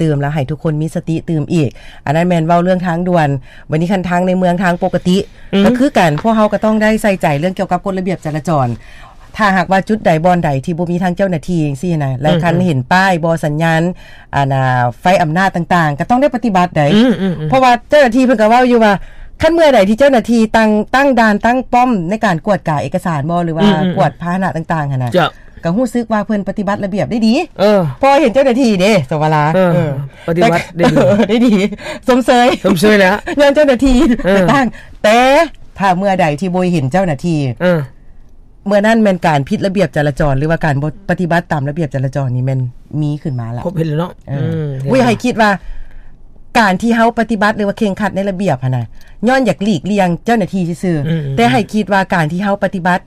ຕື່ມ ແລ້ວໃຫ້ທຸກຄົນມີສະຕິຕື່ມອີກ. ອັນນັ້ນແມ່ນເວົ້າເລື່ອງທາງດ່ວນ. ບັດນີ້ຄັນທາງໃນເມືອງ ທາງປົກກະຕິ ອືມ ກໍຄືກັນ, ພວກເຮົາກໍຕ້ອງໄດ້ໃສ່ໃຈເລື່ອງກ່ຽວກັບກົດລະບຽບຈະລາຈອນ. ຖ້າຫາກວ່າຈຸດໃດບ່ອນໃດທີ່ບໍ່ມີທາງເຈົ້າໜ້າທີ່ຈັ່ງຊີ້ນະ ແລ້ວ ອືມ ຄັນເຫັນປ້າຍບໍ່ ສັນຍານ ອັນນ່າ ໄຟອຳນາດຕ່າງໆ ກໍຕ້ອງໄດ້ປະຕິບັດໃດ. ອືມໆໆ ເພາະວ່າເຈົ້າໜ້າທີ່ເພິ່ນກໍເວົ້າຢູ່ວ່າ ຄັນເມື່ອໃດທີ່ເຈົ້າໜ້າທີ່ຕັ້ງ ຕັ້ງດ່ານ ຕັ້ງປ້ອມໃນການກວດກາເອກະສານບໍ່ ຫຼືວ່າ ອືມໆໆ ກວດພາຫະນະຕ່າງໆ ຫັ້ນນະ ເຈົ້າ ກໍຮູ້ສຶກວ່າເພິ່ນປະຕິບັດລະບຽບໄດ້ດີ. ເອີ ເພາະວ່າເຫັນເຈົ້າໜ້າທີ່ເດ້ ສະຫວາລາ ເອີ ເອີ ປະຕິບັດໄດ້ດີ ເອີ ໄດ້ດີ ຊົມເຊີຍ ຊົມເຊີຍແລ້ວ ຍ້ອນເຈົ້າໜ້າທີ່ ເອີ ໄປຕັ້ງ. ແຕ່ຖ້າເມື່ອໃດທີ່ບໍ່ເຫັນເຈົ້າໜ້າທີ່ ເອີ ເມື່ອນັ້ນແມ່ນການຜິດລະບຽບຈະລາຈອນ ຫຼືວ່າການບໍ່ປະຕິບັດຕາມລະບຽບຈະລາຈອນນີ້ແມ່ນມີຂຶ້ນມາລະ. ພົບເຫັນແລ້ວເນາະ. ເອີ ອືມ ອຸ້ຍ ໃຫ້ຄິດວ່າການທີ່ເຮົາປະຕິບັດ ຫຼືວ່າເຄັ່ງຄັດໃນລະບຽບຫັ້ນນະ ຍ້ອນຢາກຫຼີກລ່ຽງເຈົ້າໜ້າທີ່ຊື່ໆ ອືມໆໆ ແຕ່ໃຫ້ຄິດວ່າການທີ່ເຮົາປະຕິບັດ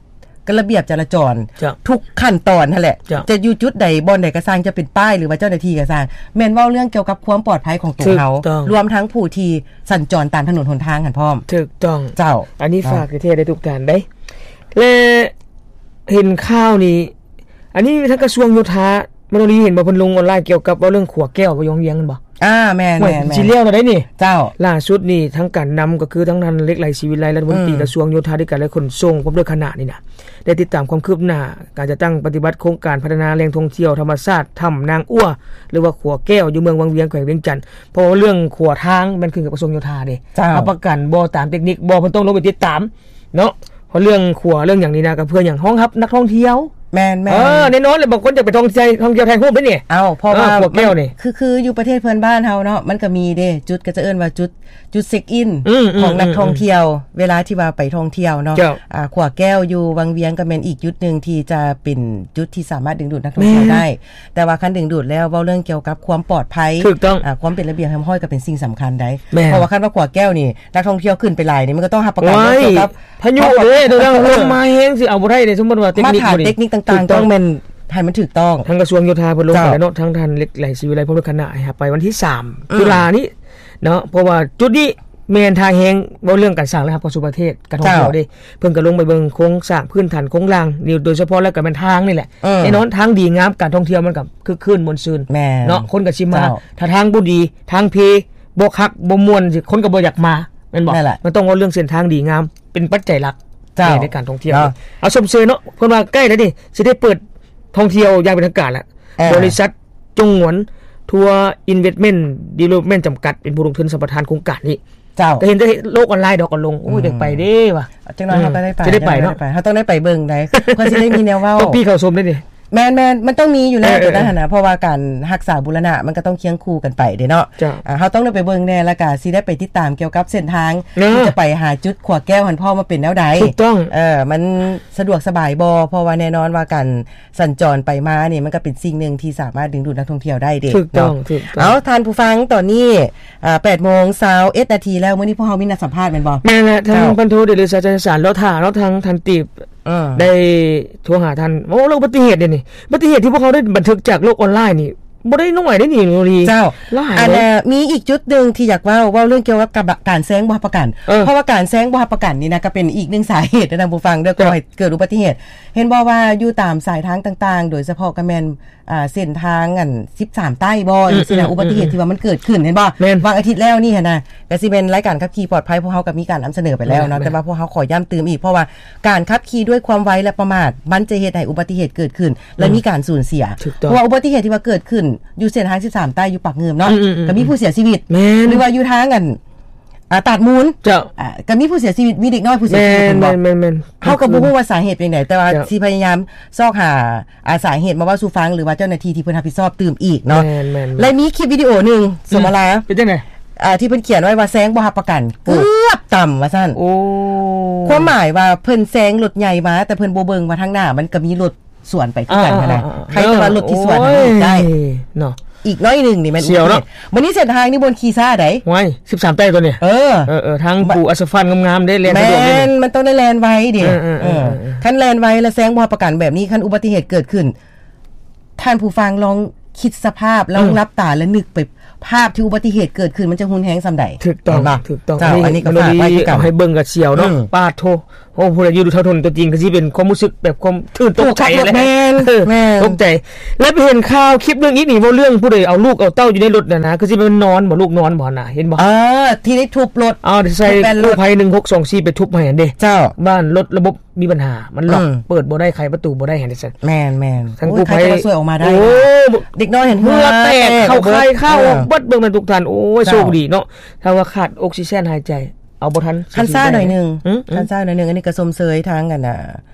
ກະລະບຽບຈະລາຈອນ ເຈົ້າ ທຸກຂັ້ນຕອນຫັ້ນແຫຼະ ເຈົ້າ ຈະຢູ່ຈຸດໃດບ່ອນໃດກໍຊ່າງ ຈະເປັນປ້າຍ ຫຼືວ່າເຈົ້າໜ້າທີ່ກໍຊ່າງ ແມ່ນເວົ້າເລື່ອງກ່ຽວກັບຄວາມປອດໄພຂອງໂຕເຮົາ ຖືກຕ້ອງ ລວມທັງຜູ້ທີ່ສັນຈອນຕາມຖະໜົນຫົນທາງຫັ້ນພ້ອມ. ຖືກຕ້ອງ ເຈົ້າ ອັນນີ້ ເນາະ ຝາກແທ້ໆເດ້ ທຸກທ່ານເດ້. ແລະ ເຫັນຂ່າວນີ້ ອັນນີ້ທາງກະຊວງໂຍທາ ມາໂນລີ ເຫັນບໍ່ ເພິ່ນລົງອອນລາຍກ່ຽວກັບເວົ້າເລື່ອງຂົວແກ້ວຢູ່ວັງວຽງ ແມ່ນບໍ່? ອ່າ ແມ່ນໆໆ ຊິແລ້ວແລ້ວໄດ໋ນີ້. ເຈົ້າ ລ່າສຸດນີ້ທາງການນຳກໍຄືທາງທ່ານ ເລັກໄຫຼ ສີວິໄລ ລັດຖະມົນຕີ ອືມ ກະຊວງໂຍທາທິການ ແລະ ຂົນສົ່ງ ພ້ອມດ້ວຍຄະນະນີ້ນະ ໄດ້ຕິດຕາມຄວາມຄືບໜ້າການຈັດຕັ້ງປະຕິບັດໂຄງການພັດທະນາແຫຼ່ງທ່ອງທ່ຽວທຳມະຊາດ ຖ້ຳນາງອົວ ຫຼືວ່າຂົວແກ້ວ ຢູ່ເມືອງວັງວຽງ ແຂວງວຽງຈັນ. ເພາະວ່າເລື່ອງຂົວທາງແມ່ນຂຶ້ນກັບກະຊວງໂຍທາເດ້ ເຈົ້າ ຮັບປະກັນບໍ່ຕາມເຕັກນິກບໍ່ ເພິ່ນຕ້ອງລົງໄປຕິດຕາມ ເນາະ ເພາະເລື່ອງຂົວເລື່ອງຫຍັງນີ້ນະ ກໍເພື່ອຫຍັງ? ຮອງຮັບນັກທ່ອງທ່ຽວ. ແມ່ນໆ ເອີ ແນ່ນອນແຫຼະ ບາງຄົນຢາກໄປທ່ອງທ່ຽວ ທ່ອງທ່ຽວຖ່າຍຮູບເດ້ນີ້. ເອົ້າ ເພາະວ່າ ເອີ ຂົວແກ້ວນີ້ ມັນ ຄື ຄືຢູ່ປະເທດເພື່ອນບ້ານເຮົາເນາະ ມັນກໍມີເດ້ ຈຸດກໍຈະເອີ້ນວ່າຈຸດ ຈຸດເຊັກອິນ ອືມໆໆໆ ຂອງນັກທ່ອງທ່ຽວ ເວລາທີ່ວ່າໄປທ່ອງທ່ຽວເນາະ. ເຈົ້າ ອ່າ ຂົວແກ້ວຢູ່ວັງວຽງກໍແມ່ນອີກຈຸດໜຶ່ງທີ່ຈະເປັນຈຸດທີ່ສາມາດດຶງດູດນັກທ່ອງທ່ຽວ ແມ່ນ ໄດ້. ແຕ່ວ່າຄັນດຶງດູດແລ້ວ ເວົ້າເລື່ອງກ່ຽວກັບຄວາມປອດໄພ ຖືກຕ້ອງ ອ່າ ຄວາມເປັນລະບຽບຮຽບຮ້ອຍກໍເປັນສິ່ງສຳຄັນໄດ໋. ແມ່ນ ເພາະວ່າຄັນວ່າຂົວແກ້ວນີ້ ນັກທ່ອງທ່ຽວຂຶ້ນໄປຫຼາຍນີ້ ມັນກໍຕ້ອງຮັບປະກັນ ໂອ້ຍ ເລື່ອງກ່ຽວກັບ ພາຍຸເດ້ ເລື່ອງລົມມາແຮງຊິເອົາບໍ່ໄດ້ເດ້ ສົມມຸດວ່າເຕັກນິກ ມາດຕະນິກຕ່າງໆ ຖືກຕ້ອງ ຕ້ອງແມ່ນໃຫ້ມັນຖືກຕ້ອງ. ທາງກະຊວງໂຍທາເພິ່ນລົງໄປແລ້ວເນາະ ເຈົ້າ ທາງທ່ານເລັກໄຫຼ ສີວິໄລ ພ້ອມດ້ວຍຄະນະ ໃຫ້ຮັບໄປວັນທີສາມ ອືມ ຕຸລານີ້ເນາະ ເພາະວ່າຈຸດນີ້ແມ່ນທ່າແຮງ ເວົ້າເລື່ອງການສ້າງລາຍຮັບເຂົ້າສູ່ປະເທດ ການທ່ອງທ່ຽວເດ້ ເຈົ້າ ເພິ່ນກໍລົງໄປເບິ່ງໂຄງສ້າງພື້ນຖານໂຄງລ່າງນີ້ ໂດຍສະເພາະແລ້ວກໍແມ່ນທາງນີ້ແຫຼະ. ເອີ ແນ່ນອນທາງດີງາມ ການທ່ອງທ່ຽວມັນກໍຄຶກຄື້ນມ່ວນຊື່ນ ແມ່ນ ເນາະ ຄົນກໍຊິມາ. ເຈົ້າ ຖ້າທາງບໍ່ດີ ທາງເພ ບໍ່ຄັກ ບໍ່ມ່ວນ ຄົນກໍບໍ່ຢາກມາ ແມ່ນບໍ່? ແມ່ນແຫຼະ ມັນຕ້ອງເວົ້າເລື່ອງເສັ້ນທາງດີງາມ ເປັນປັດໄຈຫຼັກ ເຈົ້າ ໃນການທ່ອງທ່ຽວ. ເນາະ ເອົາ ຊົມເຊີຍເນາະ ເພິ່ນວ່າໃກ້ແລ້ວນີ້ ຊິໄດ້ເປີດທ່ອງທ່ຽວຢ່າງເປັນທາງການແລ້ວ. ເອີ ບໍລິສັດ ຈົງງວນ ທົວ ອິນເວັດເມັນ ດີເວລອບເມັນ ຈຳກັດ ເປັນຜູ້ລົງທຶນສຳປະທານໂຄງການນີ້. ເຈົ້າ ກໍເຫັນແຕ່ໂລກອອນລາຍດອກກັນລົງ. ໂອ້ຍ ອືມ ຢາກໄປເດ້ວ່າ ຈັກໜ້ອຍເຮົາກໍໄດ້ໄປ ອືມ ຊິໄດ້ໄປເນາະ ເຮົາຕ້ອງໄດ້ໄປເບິ່ງໄດ໋ ເພື່ອຊິໄດ້ມີແນວເວົ້າ ຕ້ອງປີ້ເຂົ້າຊົມໄດ້ນີ້. ແມ່ນໆ ມັນຕ້ອງມີຢູ່ແລ້ວ ເອີໆ ຕົວນັ້ນຫັ້ນນະ ເພາະວ່າການຮັກສາບູລະນະ ມັນກໍຕ້ອງຄຽງຄູ່ກັນໄປເດ້ເນາະ. ເຈົ້າ ອ່າ ເຮົາຕ້ອງໄດ້ໄປເບິ່ງແດ່ ແລ້ວກໍຊິໄດ້ໄປຕິດຕາມກ່ຽວກັບເສັ້ນທາງ ເນາະ ທີ່ຈະໄປຫາຈຸດຂົວແກ້ວຫັ້ນ ເພາະວ່າມັນເປັນແນວໃດ. ຖືກຕ້ອງ ເອີ ມັນສະດວກສະບາຍບໍ່? ເພາະວ່າແນ່ນອນວ່າການ ສັນຈອນໄປມານີ້ ມັນກໍເປັນສິ່ງໜຶ່ງທີ່ສາມາດດຶງດູດນັກທ່ອງທ່ຽວໄດ້ເດ້. ຖືກຕ້ອງ ເນາະ ຖືກຕ້ອງ. ເອົາ ທ່ານຜູ້ຟັງ ຕອນນີ້ ອ່າ ແປດໂມງຊາວເອັດນາທີແລ້ວ ມື້ນີ້ພວກເຮົາມີນັດສຳພາດແມ່ນບໍ່? ແມ່ນແຫຼະ ທາງ ເຈົ້າ ພັນໂທ ເດຊະ ໄຊຍະສານ ເລາະຖ້າເນາະ ທາງທ່ານຕີບ ເອີ ໄດ້ໂທຫາທ່ານ. ໂອ້ ເລື່ອງອຸບັດຕິເຫດເດນີ້ ອຸບັດຕິເຫດທີ່ພວກເຮົາໄດ້ບັນທຶກຈາກໂລກອອນລາຍນີ້ ບໍ່ໄດ້ໜ້ອຍເດ້ນີ້ ໂນລີ ເຈົ້າ ຫຼາຍ ອັນ ເອີ ມີອີກຈຸດໜຶ່ງທີ່ຢາກເວົ້າ ເວົ້າເລື່ອງກ່ຽວກັບ ກັບການແຊງບໍ່ຮັບປະກັນ. ເອີ ເພາະວ່າການແຊງບໍ່ຮັບປະກັນນີ້ນະ ກໍເປັນອີກໜຶ່ງສາເຫດນະ ທ່ານຜູ້ຟັງເດີ ເຈົ້າ ກໍໃຫ້ເກີດອຸບັດຕິເຫດ. ເຫັນບໍ່ວ່າຢູ່ຕາມສາຍທາງຕ່າງໆ ໂດຍສະເພາະກໍແມ່ນ ອ່າ ເສັ້ນທາງອັນສິບສາມໃຕ້ບໍ່ ອືມ ຈັ່ງຊີ້ນະ ອືມ ອຸບັດຕິເຫດ ອືມ ທີ່ວ່າມັນເກີດຂຶ້ນ ເຫັນບໍ່? ແມ່ນ ວັນອາທິດແລ້ວນີ້ຫັ້ນນະ ກໍຊິແມ່ນລາຍການຂັບຂີ່ປອດໄພ ພວກເຮົາກໍມີການນຳສະເໜີໄປແລ້ວເນາະ ແມ່ນ ແຕ່ວ່າພວກເຮົາຂໍຢ້ຳຕື່ມອີກ ເພາະວ່າການຂັບຂີ່ດ້ວຍຄວາມໄວ ແລະ ປະໝາດ ມັນຈະເຮັດໃຫ້ອຸບັດຕິເຫດເກີດຂຶ້ນ ແລະ ອືມ ມີການສູນເສຍ. ຖືກຕ້ອງ. ເພາະວ່າອຸບັດຕິເຫດທີ່ວ່າເກີດຂຶ້ນຢູ່ເສັ້ນທາງສິບສາມໃຕ້ຢູ່ປາກງື່ມເນາະ ອືມໆໆ ກໍມີຜູ້ເສຍຊີວິດ ແມ່ນ ຫຼືວ່າຢູ່ທາງອັນ ອ່າ ຕາດມູນ ເຈົ້າ ອ່າ ກໍມີຜູ້ເສຍຊີວິດ ມີເດັກນ້ອຍຜູ້ເສຍຊີວິດ ແມ່ນ ເຫັນບໍ່? ແມ່ນໆໆ ເຮົາກໍບໍ່ຮູ້ວ່າສາເຫດເປັນຫຍັງໃດ ເຈົ້າ ແຕ່ວ່າ ເຈົ້າ ຊິພະຍາຍາມຊອກຫາ ອ່າ ສາເຫດມາເວົ້າສູ່ຟັງ ຫຼືວ່າເຈົ້າໜ້າທີ່ທີ່ເພິ່ນຮັບຜິດຊອບຕື່ມອີກເນາະ. ແມ່ນໆໆ ແລະ ມີຄລິບວິດີໂອໜຶ່ງ ອືມ ສົມມະລາ ເປັນຈັ່ງໃດ? ອ່າ ທີ່ເພິ່ນຂຽນໄວ້ວ່າແຊງບໍ່ຮັບປະກັນ ໂອ້ ເກືອບຕຳວ່າຊັ້ນ. ໂອ້ ຄວາມໝາຍວ່າເພິ່ນແຊງລົດໃຫຍ່ມາ ແຕ່ເພິ່ນບໍ່ເບິ່ງວ່າທາງໜ້າມັນກໍມີລົດ ສວນໄປຄືກັນຫັ້ນນະ ອ່າໆໆໆ ໃຜແຕ່ວ່າລົດທີ່ສວນຫັ້ນ ໂອ້ຍ ເນາະ ອີກໜ້ອຍໜຶ່ງນີ້ແມ່ນອຸບັດຕິເຫດ. ມື້ນີ້ເສັ້ນທາງນີ້ບໍ່ຂີ່ຊ້າໃດ໋ ຫ້ວຍ ສິບສາມໃຕ້ຕົວນີ້ ເອີ ເອີໆ ທາງປູອາສະຟາດງາມໆເດ້ ແລ່ນສະດວກເດ້ ແມ່ນ ມັນຕ້ອງໄດ້ແລ່ນໄວເດ້ ເອີໆໆໆ ເອີ ເອີ ເອີ ຄັນແລ່ນໄວແລ້ວແຊງບໍ່ຮັບປະກັນແບບນີ້ ຄັນອຸບັດຕິເຫດເກີດຂຶ້ນ ທ່ານຜູ້ຟັງລອງຄິດສະພາບ ລອງ ອືມ ຫຼັບຕາ ແລະ ນຶກໄປພາບທີ່ອຸບັດຕິເຫດເກີດຂຶ້ນ ມັນຈະຮຸນແຮງສ່ຳໃດ. ຖືກຕ້ອງ ເຫັນບໍ່? ຖືກຕ້ອງ. ເຈົ້າ ອັນນີ້ກໍຝາກໄວ້ຄືກັນ ເອົາໃຫ້ເບິ່ງກໍສຽວເນາະ ອືມ ປາດໂທ ໂອ້ ຜູ້ໃດຢູ່ແຖວຖົນຕົວຈິງ ກໍຊິເປັນຄວາມຮູ້ສຶກແບບຄວາມຕື່ນຕົກໃຈແຫຼະ ແມ່ນ ເອີ ແມ່ນ ຕົກໃຈ. ແລ້ວໄປເຫັນຂ່າວຄລິບໜຶ່ງອີກນີ້ ເວົ້າເລື່ອງຜູ້ໃດເອົາລູກເອົາເຕົ້າຢູ່ໃນລົດຫັ້ນນະ ຄືຊິແມ່ນນອນບໍ່ ລູກນອນບໍ່ຫັ້ນນະ ເຫັນບໍ່? ເອີ ທີ່ໄດ້ທຸບລົດ ເອົາ ໃສ່ກູ້ໄພໜຶ່ງຫົກສອງສີ່ໄປທຸບໃຫ້ຫັ້ນເດ້ ເຈົ້າ ວ່າລົດລະບົບມີບັນຫາ ມັນລັອກ ອືມ ເປີດບໍ່ໄດ້ ໄຂປະຕູບໍ່ໄດ້ຫັ້ນເດ້ ແມ່ນໆ ທາງກູ້ໄພ ໃຜກໍຊ່ວຍອອກມາໄດ້ ໂອ້ ເດັກນ້ອຍຫັ້ນເຫື່ອແຕກ ເຫື່ອແຕກ ເຂົ້າຄາຍ ເຂົ້າ ເບິດ ເບິ່ງແມ່ນທຸກທ່ານ ໂອ້ຍ ເຈົ້າ ໂຊກດີເນາະ ຖ້າວ່າຂາດອົກຊີເຈນຫາຍໃຈ ເອົາບໍ່ທັນ ຄັນຊ້າໜ້ອຍໜຶ່ງ ອືມ ຄັນຊ້າໜ້ອຍໜຶ່ງ ອັນນີ້ກໍຊົມເຊີຍທາງ ອັນນ່າ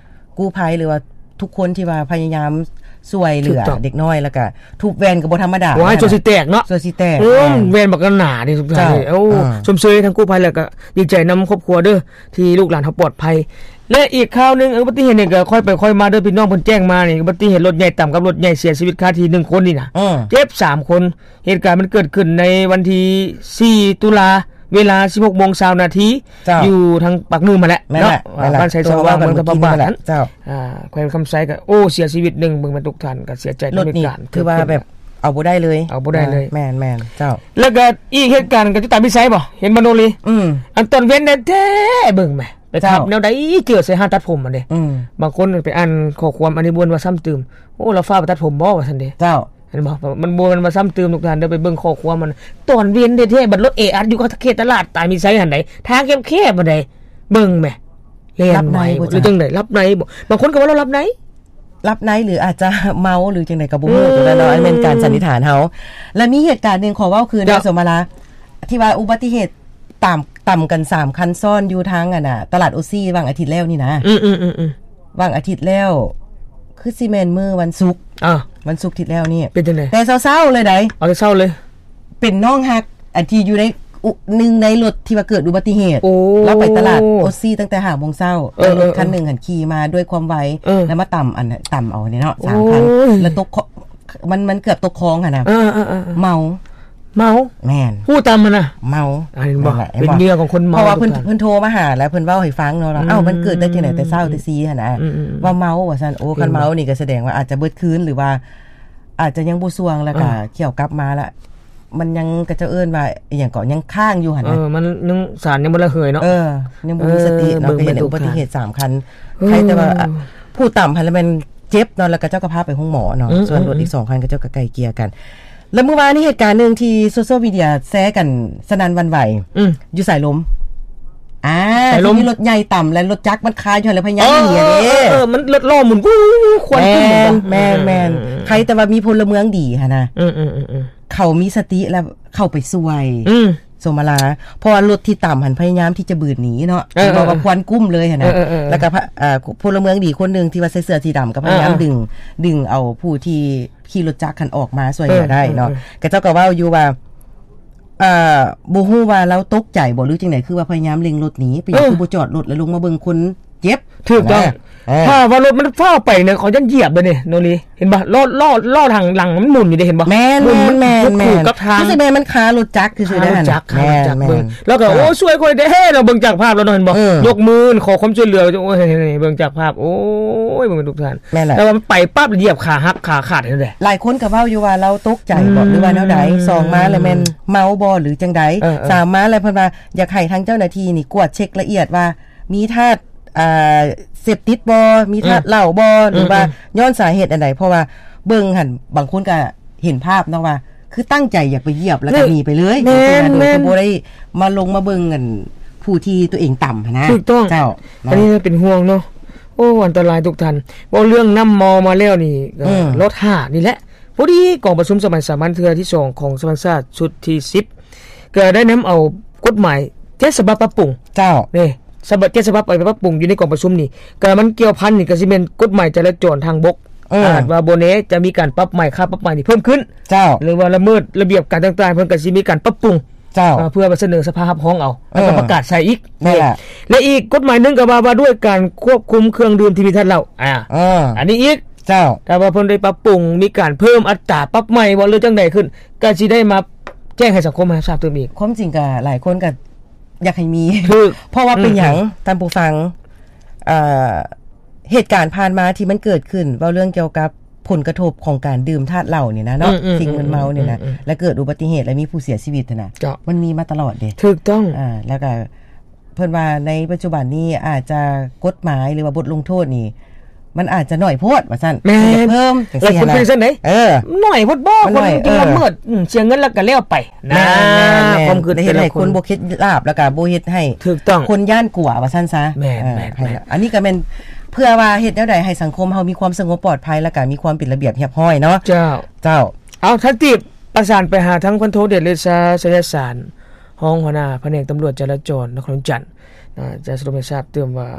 ກູ້ໄພ ຫຼືວ່າທຸກຄົນທີ່ວ່າພະຍາຍາມຊ່ວຍເຫຼືອເດັກນ້ອຍ ແລ້ວກໍທຸບແວ່ນກໍບໍ່ທຳມະດາ ໂອ້ຍ ສ່ວນຊິແຕກເນາະ ສ່ວນຊິແຕກ ເອີ ແມ່ນ ແມ່ນບັກໜານີ້ທຸກທ່ານ ເຈົ້າ ເອີ ເອີ ຊົມເຊີຍທາງກູ້ໄພ ແລ້ວກໍດີໃຈນຳຄອບຄົວເດີ ທີ່ລູກຫຼານເຮົາປອດໄພ. ແລະ ອີກຂ່າວໜຶ່ງ ອຸບັດຕິເຫດນີ້ກໍຄ່ອຍໄປຄ່ອຍມາເດີ ພີ່ນ້ອງເພິ່ນແຈ້ງມານີ້ ອຸບັດຕິເຫດລົດໃຫຍ່ຕຳກັບລົດໃຫຍ່ເສຍຊີວິດຄາທີ່ໜຶ່ງຄົນນີ້ນະ ເອີ ເຈັບສາມຄົນ. ເຫດການມັນເກີດຂຶ້ນໃນວັນທີສີ່ ຕຸລາ ເວລາສິບຫົກໂມງຊາວນາທີ ເຈົ້າ ຢູ່ທາງປາກໜື່ມຫັ້ນແຫຼະ ແມ່ນແຫຼະ ເນາະ ແມ່ນແຫຼະ ບ້ານໄຊສະຫວ່າງ ເມືອງທຳມະບາດ ເຈົ້າ ອ່າ ແຂວງຄຳໄຊ ກໍ ໂອ້ ເສຍຊີວິດໜຶ່ງ ເບິ່ງແມ່ນທຸກທ່ານ ກໍເສຍໃຈນຳເຫດການ ຖືວ່າແບບເອົາບໍ່ໄດ້ເລີຍ ເອົາບໍ່ໄດ້ເລີຍ ແມ່ນໆ ເຈົ້າ ແລ້ວກໍອີກເຫດການກໍຢູ່ຕາມວິໄຊບໍ່ ເຫັນບໍ່ໂນລີ ອືມ ອັນຕອນເວັນແທ້ໆ ເບິ່ງແໝ່ ໄປຂັບແນວໃດເຈີໃສ່ຮ້ານຕັດຜົມຫັ້ນເດ້ ອືມ ບາງຄົນໄປອ່ານຂໍ້ຄວາມອັນນີ້ບ່ວນວ່າຊ້ຳຕື່ມ ໂອ້ ລາວຟ້າວໄປຕັດຜົມບໍ່ ວ່າຊັ້ນເດ້ ເຈົ້າ ເຫັນບໍ່? ມັນບໍ່ແມ່ນວ່າຊ້ຳຕື່ມທຸກທ່ານເດີ ໄປເບິ່ງຂໍ້ຄວາມມັນ ຕອນເວັນແທ້ໆ ບັດລົດແອອັດຢູ່ເຂດຕະຫຼາດຕາຍມີໄຊຫັ້ນໃດ ທາງແຄບໆ ບັດໃດ ເບິ່ງແໝ່ ແລ່ນໄວບໍ່ ຫຼືຈັ່ງໃດ ຫຼັບໃນບໍ່? ບາງຄົນກໍວ່າລາວຫຼັບໃນ ຫຼັບໃນ ຫຼືອາດຈະເມົາ ຫຼືຈັ່ງໃດກໍບໍ່ຮູ້ ເອີ ຕົງນັ້ນເນາະ ອັນແມ່ນການສັນນິຖານເຮົາ. ແລະມີເຫດການໜຶ່ງ ຂໍເວົ້າຄືນ ເຈົ້າ ເດີ ສົມມະລາ ທີ່ວ່າອຸບັດຕິເຫດຕາມ ຕຳກັນສາມຄັນຊ້ອນຢູ່ທາງ ອັນນ່າ ຕະຫຼາດໂອຊີ ຫວ່າງອາທິດແລ້ວນີ້ນະ ອືມໆໆໆ ຫວ່າງອາທິດແລ້ວ ຄືຊິແມ່ນມື້ວັນສຸກ ອ່າ ວັນສຸກທີ່ແລ້ວນີ້ ເປັນຈັ່ງໃດ? ແຕ່ເຊົ້າໆ ເລີຍໃດ໋ ເອົາແຕ່ເຊົ້າເລີຍ ເປັນນ້ອງຮັກ ອັນທີ່ຢູ່ໃນ ໜຶ່ງໃນລົດທີ່ວ່າເກີດອຸບັດຕິເຫດ ໂອ້ ລາວໄປຕະຫຼາດໂອຊີຕັ້ງແຕ່ຫ້າໂມງເຊົ້າ ເອີ ແລ້ວລົດຄັນໜຶ່ງຫັ້ນຂີ່ມາດ້ວຍຄວາມໄວ ເອີ ແລ້ວມາຕຳ ອັນ ຕຳເອົານີ້ເນາະ ໂອ້ຍ ສາມຄັນ ແລ້ວຕົກ ມັນ ມັນເກືອບຕົກຄອງຫັ້ນນະ ເອີໆໆໆ ເມົາ ເມົາ ແມ່ນ ຜູ້ຕຳຫັ້ນນະ ເມົາ ອ່າ ເຫັນບໍ່ ເປັນເຫຍື່ອຂອງຄົນເມົາ ເພາະວ່າເພິ່ນ ເພິ່ນໂທມາຫາ ແລ້ວເພິ່ນເວົ້າໃຫ້ຟັງເນາະ ວ່າ ອືມ ເອົ້າ ມັນເກີດໄດ້ຈັ່ງໃດແຕ່ເຊົ້າແຕ່ຊີຫັ້ນນະ ອືມໆໆ ວ່າເມົາວ່າຊັ້ນ ໂອ້ ເຫັນບໍ່ ຄັນເມົານີ້ກໍສະແດງວ່າອາດຈະເບິດຄືນ ຫຼືວ່າອາດຈະຍັງບໍ່ສ່ວງ ແລ້ວກໍ ອ່າ ຂ້ຽວກັບມາລະ ມັນຍັງ ເຂົາເຈົ້າເອີ້ນວ່າອີ່ຫຍັງເກາະ ຍັງຄ້າງຢູ່ຫັ້ນນະ ເອີ ມັນຍັງ ສານຍັງບໍ່ລະເຫີຍເນາະ ເອີ ຍັງບໍ່ມີສະຕິເນາະ ເອີ ກໍເຫັນອຸບັດຕິເຫດສາມຄັນ ເອີ ໃຄແຕ່ວ່າ ອ່າ ຜູ້ຕຳຫັ້ນລະແມ່ນເຈັບເນາະ ແລ້ວເຂົາເຈົ້າກໍພາໄປໂຮງໝໍເນາະ ອືມ ສ່ວນລົດອີກສອງຄັນ ເຂົາເຈົ້າກໍໄກ່ເກ່ຍກັນ ແລ້ວມື້ວານນີ້ເຫດການໜຶ່ງທີ່ໂຊຊຽວມີເດຍແຊກັນສະໜັ່ນຫວັ່ນໄຫວ ອືມ ຢູ່ສາຍລົມ ອ່າ ສາຍລົມ ທີ່ມີລົດໃຫຍ່ຕຳ ແລະລົດຈັກມັນຄາຢູ່ຫັ້ນ ແລ້ວພະຍາຍາມໜີຫັ້ນເດ້ ເອີ ເອີ ເອີ ມັນລົດລໍ້ໝູນ ຄວັນ ແມ່ນ ຂຶ້ນ ແມ່ນ ແມ່ນ ອືມ ໃຄແຕ່ວ່າມີພົນລະເມືອງດີຫັ້ນນະ ອືມໆໆໆ ເຂົາມີສະຕິ ແລ້ວເຂົ້າໄປຊ່ວຍ ອືມ ສົມມະລາ ເພາະວ່າລົດທີ່ຕຳຫັ້ນພະຍາຍາມທີ່ຈະບືດໜີເນາະ ເອີໆໆ ເຫັນບໍ່ວ່າຄວັນກຸ້ມເລີຍຫັ້ນນະ ເອີໆໆໆ ແລ້ວກໍ ອ່າ ພົນລະເມືອງດີຄົນໜຶ່ງທີ່ວ່າໃສ່ເສື້ອສີດຳກໍພະຍາຍາມ ອ່າໆ ດຶງ ດຶງເອົາຜູ້ທີ່ຂີ່ລົດຈັກຫັ້ນອອກມາຊ່ວຍເຫຼືອໄດ້ເນາະ ເອີໆໆໆ ເຂົາເຈົ້າກໍເວົ້າຢູ່ວ່າ ອ່າ ບໍ່ຮູ້ວ່າລາວຕົກໃຈບໍ່ ຫຼືຈັ່ງໃດ ຄືວ່າພະຍາຍາມເລັ່ງລົດໜີ ເປັນຫຍັງ ເອີ ຄືບໍ່ຈອດລົດ ແລ້ວລົງມາເບິ່ງຄົນເຈັບ ຖືກຕ້ອງ ເອີ ຖ້າວ່າລົດມັນຟ້າວໄປເນຍ ເຂົາຢ້ານຢຽບເລີຍນີ້ ໂນລີ ເຫັນບໍ່ ລໍ້ ລໍ້ ລໍ້ທາງຫຼັງມັນໝູນຢູ່ເດ້ ເຫັນບໍ່ ແມ່ນໆໆໆ ໝູນ ໝູນຢູ່ກັບທາງ ຄືຊິແມ່ນມັນຄາລົດຈັກຄືຊິ ຄາລົດຈັກ ແມ່ນໆ ຄາລົດຈັກ ເບິ່ງ ແລ້ວກໍ ໂອ້ ຊ່ວຍຂ້ອຍແດ່ ເນາະ ເບິ່ງຈາກພາບແລ້ວເນາະ ເຫັນບໍ່ ເອີ ຍົກມືຂໍຄວາມຊ່ວຍເຫຼືອ ໂອ້ຍ ເບິ່ງຈາກພາບ ໂອ້ຍ ເບິ່ງທຸກທ່ານ ແມ່ນແຫຼະ ແຕ່ວ່າມັນໄປປັບ ຢຽບຂາຫັກຂາຂາດຫັ້ນແຫຼະ ຫຼາຍຄົນກໍເວົ້າຢູ່ວ່າລາວຕົກໃຈບໍ່ ອືມ ຫຼືວ່າແນວໃດ ສອງມາແລ້ວແມ່ນເມົາບໍ່ ຫຼືຈັ່ງໃດ ເອີໆ ສາມມາແລ້ວເພິ່ນວ່າຢາກໃຫ້ທາງເຈົ້າໜ້າທີ່ນີ້ກວດເຊັກລະອຽດວ່າ ມີທາດ ອ່າ ເສບຕິດບໍ່ ມີທາດເຫຼົ້າບໍ່ ອືມ ຫຼືວ່າ ອືມໆ ຍ້ອນສາເຫດອັນໃດ ເພາະວ່າເບິ່ງຫັ້ນ ບາງຄົນກໍເຫັນພາບເນາະວ່າ ຄືຕັ້ງໃຈຢາກໄປຢຽບ ແລ້ວກໍໜີໄປເລີຍ ແມ່ນໆ ໂດຍທີ່ບໍ່ໄດ້ມາລົງມາເບິ່ງອັນຜູ້ທີ່ຕົວເອງຕຳຫັ້ນນະ ຖືກຕ້ອງ ເຈົ້າ ອັນນີ້ເນາະ ເປັນຫ່ວງເນາະ ໂອ້ ອັນຕະລາຍທຸກທ່ານ ເວົ້າເລື່ອງນ້ຳເມົາມາແລ້ວນີ້ ອືມ ລໍຖ້ານີ້ແຫຼະ ພໍດີກອງປະຊຸມສະໄໝສາມັນເທື່ອທີສອງຂອງສະພາແຫ່ງຊາດຊຸດທີສິບ ກໍໄດ້ນຳເອົາກົດໝາຍເຈັດສະບັບປັບປຸງ ເຈົ້າ ນີ້ ສະບັບ ເຈັດສະບັບໄປປັບປຸງຢູ່ໃນກອງປະຊຸມນີ້ ກໍມັນກ່ຽວພັນນີ້ກໍຊິແມ່ນກົດໝາຍຈະລາຈອນທາງບົກ ເອີ ອາດວ່າບໍ່ແນ່ຈະມີການປັບໃໝ ຄ່າປັບໃໝນີ້ເພີ່ມຂຶ້ນ ເຈົ້າ ຫຼືວ່າລະເມີດລະບຽບການຕ່າງໆ ເພິ່ນກໍຊິມີການປັບປຸງ ເຈົ້າ ເພື່ອໄປສະເໜີສະພາເຮັດຮອງເອົາ ແລ້ວກໍປະກາດໃສ່ອີກ ນັ້ນແຫຼະ ແລະ ອີກກົດໝາຍໜຶ່ງກໍວ່າ ວ່າດ້ວຍການຄວບຄຸມເຄື່ອງດື່ມທີ່ມີທາດເຫຼົ້າ ອ່າ ເອີ ອັນນີ້ອີກ ເຈົ້າ ຖ້າວ່າເພິ່ນໄດ້ປັບປຸງ ມີການເພີ່ມອັດຕາປັບໃໝບໍ່ ຫຼືຈັ່ງໃດຂຶ້ນ ກໍຊິໄດ້ມາແຈ້ງໃຫ້ສັງຄົມຮັບຊາບຕື່ມອີກ ຄວາມຈິງກໍຫຼາຍຄົນກໍຢາກໃຫ້ມີ ຖືກ ເພາະວ່າເປັນຫຍັງ ອືມໆ ທ່ານຜູ້ຟັງ ເອີ ເຫດການຜ່ານມາທີ່ມັນເກີດຂຶ້ນ ເວົ້າເລື່ອງກ່ຽວກັບຜົນກະທົບຂອງການດື່ມທາດເຫຼົ້ານີ້ນະເນາະ ອືມໆໆໆ ສິ່ງມຶນເມົານີ້ນະ ອືມໆໆໆ ແລະ ເກີດອຸບັດຕິເຫດ ແລະ ມີຜູ້ເສຍຊີວິດຫັ້ນນະ ເຈົ້າ ມັນມີມາຕະຫຼອດເດ້ ຖືກຕ້ອງ ອ່າ ແລ້ວກໍ ເພິ່ນວ່າໃນປັດຈຸບັນນີ້ອາດຈະກົດໝາຍ ຫຼືວ່າບົດລົງໂທດນີ້ ມັນອາດຈະໜ້ອຍໂພດວ່າຊັ້ນ ແມ່ນ ເພິ່ນຢາກເພີ່ມຈັ່ງຊີ້ຫັ້ນນະ ຫຼາຍຄົນເປັນຈັ່ງໃດ ເອີ ໜ້ອຍໂພດບໍ່ ຄົນກິນລະເມີດ ອືມ ເສຍເງິນແລ້ວກໍແລ້ວໄປນະ ແມ່ນໆໆ ຄວາມຄິດ ໄດ້ເຮັດໃຫ້ຄົນບໍ່ຄິດລາບ ແລ້ວກໍບໍ່ເຮັດໃຫ້ ຖືກຕ້ອງ ຄົນຢ້ານກົວວ່າຊັ້ນຊະ ແມ່ນໆໆ ເອີ ອັນນີ້ກໍແມ່ນເພື່ອວ່າເຮັດແນວໃດໃຫ້ສັງຄົມເຮົາມີຄວາມສະຫງົບປອດໄພ ແລ້ວກໍມີຄວາມເປັນລະບຽບຮຽບຮ້ອຍເນາະ ເຈົ້າ ເຈົ້າ. ເອົາ ທ່ານຕີບ ປະສານໄປຫາທາງພັນໂທເດດ ເລຊາ ໄຊຍະສານ ຮອງຫົວໜ້າພະແນກຕຳຫຼວດຈະລາຈອນນະຄອນຫຼວງວຽງຈັນ ອາ ຈະສະຫຼຸບໃຫ້ຊາບຕື່ມວ່າ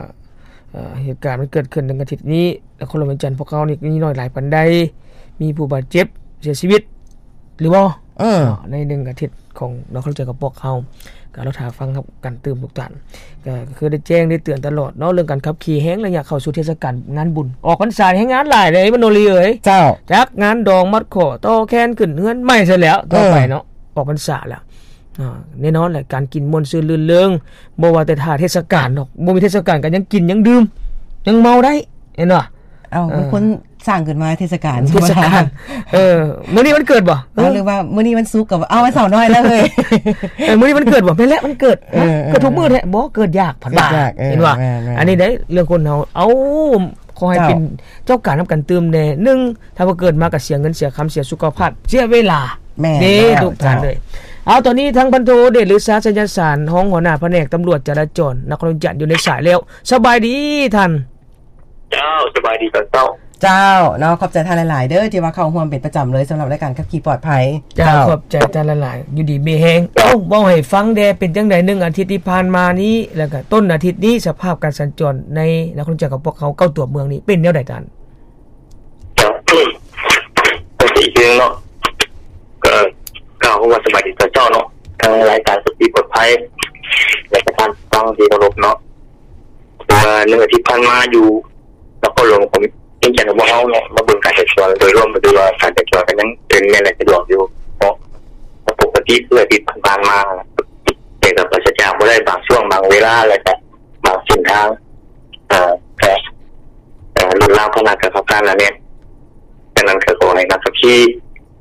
ເຫດການມັນເກີດຂຶ້ນໃນອາທິດນີ້ ນະຄອນຫຼວງວຽງຈັນພວກເຮົານີ້ມີນ້ອຍຫຼາຍປານໃດ ມີຜູ້ບາດເຈັບ ເສຍຊີວິດ ຫຼືບໍ່ ເອີ ໃນໜຶ່ງອາທິດຂອງນະຄອນຫຼວງວຽງຈັນຂອງພວກເຮົາ ກໍລໍຖ້າຟັງກັນຕື່ມທຸກທ່ານ ກໍຄືໄດ້ແຈ້ງໄດ້ເຕືອນຕະຫຼອດເນາະ ເລື່ອງການຂັບຂີ່ແຮ່ງໄລຍະເຂົ້າສູ່ເທດສະການງານບຸນ ອອກພັນສາແຮງງານຫຼາຍເດ້ ມະໂນລີເອີຍ ເຈົ້າ ຈັກງານດອງມັດຂໍ້ຕໍ່ແຂນຂຶ້ນເຮືອນໃໝ່ຊະແລ້ວ ຕໍ່ໄປເນາະ ເອີ ອອກພັນສາແລ້ວ ອາ ແນ່ນອນແຫຼະ ການກິນມ່ວນຊື່ນລື່ນເລີງ ບໍ່ວ່າແຕ່ຖ້າເທດສະການດອກ ບໍ່ມີເທດສະການກໍຍັງກິນ ຍັງດື່ມ ຍັງເມົາໄດ້ ເຫັນບໍ່? ເອົ້າ ເອີ ມັນຄົນສ້າງຂຶ້ນມາເທດສະການ ເທດສະການ ເອີ ມື້ນີ້ວັນເກີດບໍ່? ເອີ ຫຼືວ່າມື້ນີ້ວັນສຸກກໍ ເອົາ ວັນເສົານ້ອຍແລ້ວເຮີ້ຍ ເອີ ມື້ນີ້ວັນເກີດບໍ່? ແມ່ນແຫຼະ ວັນເກີດ ເອີ ເກີດທຸກມື້ແທ້ ບໍ່ ເກີດຍາກ ເພິ່ນວ່າ ເຫັນບໍ່? ແມ່ນໆໆ ອັນນີ້ໄດ້ເລື່ອງຄົນເຮົາ ເອົາ ຂໍໃຫ້ເປັນເຈົ້າການນຳກັນຕື່ມແດ່ ໜຶ່ງ ຖ້າວ່າເກີດມາກໍເສຍເງິນເສຍຄຳ ເສຍສຸຂະພາບ ເສຍເວລາ ແມ່ນ ເດ້ ແລ້ວ ທຸກທ່ານເອີຍ ເຈົ້າ ເອົາ ຕອນນີ້ທາງພັນໂທເດດ ຫຼື ຊາ ໄຊຍະສານ ຮອງຫົວໜ້າພະແນກຕຳຫຼວດຈະລາຈອນນະຄອນຫຼວງວຽງຈັນຢູ່ໃນສາຍແລ້ວ ສະບາຍດີທ່ານ ເຈົ້າ ສະບາຍດີຕອນເຊົ້າ ເຈົ້າ ເນາະ ຂອບໃຈທ່ານຫຼາຍໆເດີ ທີ່ວ່າເຂົ້າຮ່ວມເປັນປະຈຳເລີຍ ສຳລັບລາຍການຂັບຂີ່ປອດໄພ ເຈົ້າ ເຈົ້າ ຂອບໃຈທ່ານຫຼາຍໆ ຢູ່ດີມີແຮງ ເຈົ້າ ເອົ້າ ເວົ້າໃຫ້ຟັງແດ່ ເປັນຈັ່ງໃດໜຶ່ງອາທິດທີ່ຜ່ານມານີ້ ແລ້ວກໍຕົ້ນອາທິດນີ້ ສະພາບການສັນຈອນໃນນະຄອນຫຼວງວຽງຈັນຂອງພວກເຮົາ ເກົ້າຕົວເມືອງນີ້ ເປັນແນວໃດທ່ານ? ເຈົ້າ ກໍຊິອີກເລື່ອງເນາະ ກໍກ່າວຄຳວ່າສະບາຍດີຕອນເຊົ້າເນາະ ທາງລາຍການຂັບຂີ່ປອດໄພ ແລະ ກໍທ່ານຜູ້ຟັງທີ່ເຄົາລົບເນາະ ເພາະວ່າໜຶ່ງອາທິດຜ່ານມາຢູ່ນະຄອນຫຼວງວຽງຈັນຂອງພວກເຮົາເນາະ ມາເບິ່ງການສັນຈອນໂດຍລວມ ກໍຖືວ່າການສັນຈອນກໍຍັງເປັນແມ່ນ ແລະ ສະດວກຢູ່ເນາະ ປົກກະຕິຄືອາທິດຜ່ານໆມາ ແຕ່ກໍປາສະຈາກບໍ່ໄດ້ບາງຊ່ວງບາງເວລາ ແລະ ກໍບາງເສັ້ນທາງ ເອີ ກໍ ເອີ ລົດລາພາຫະນະກໍເຂົ້າການໜາແໜ້ນ. ສະນັ້ນກໍຂໍໃຫ້ນັກຂັບຂີ່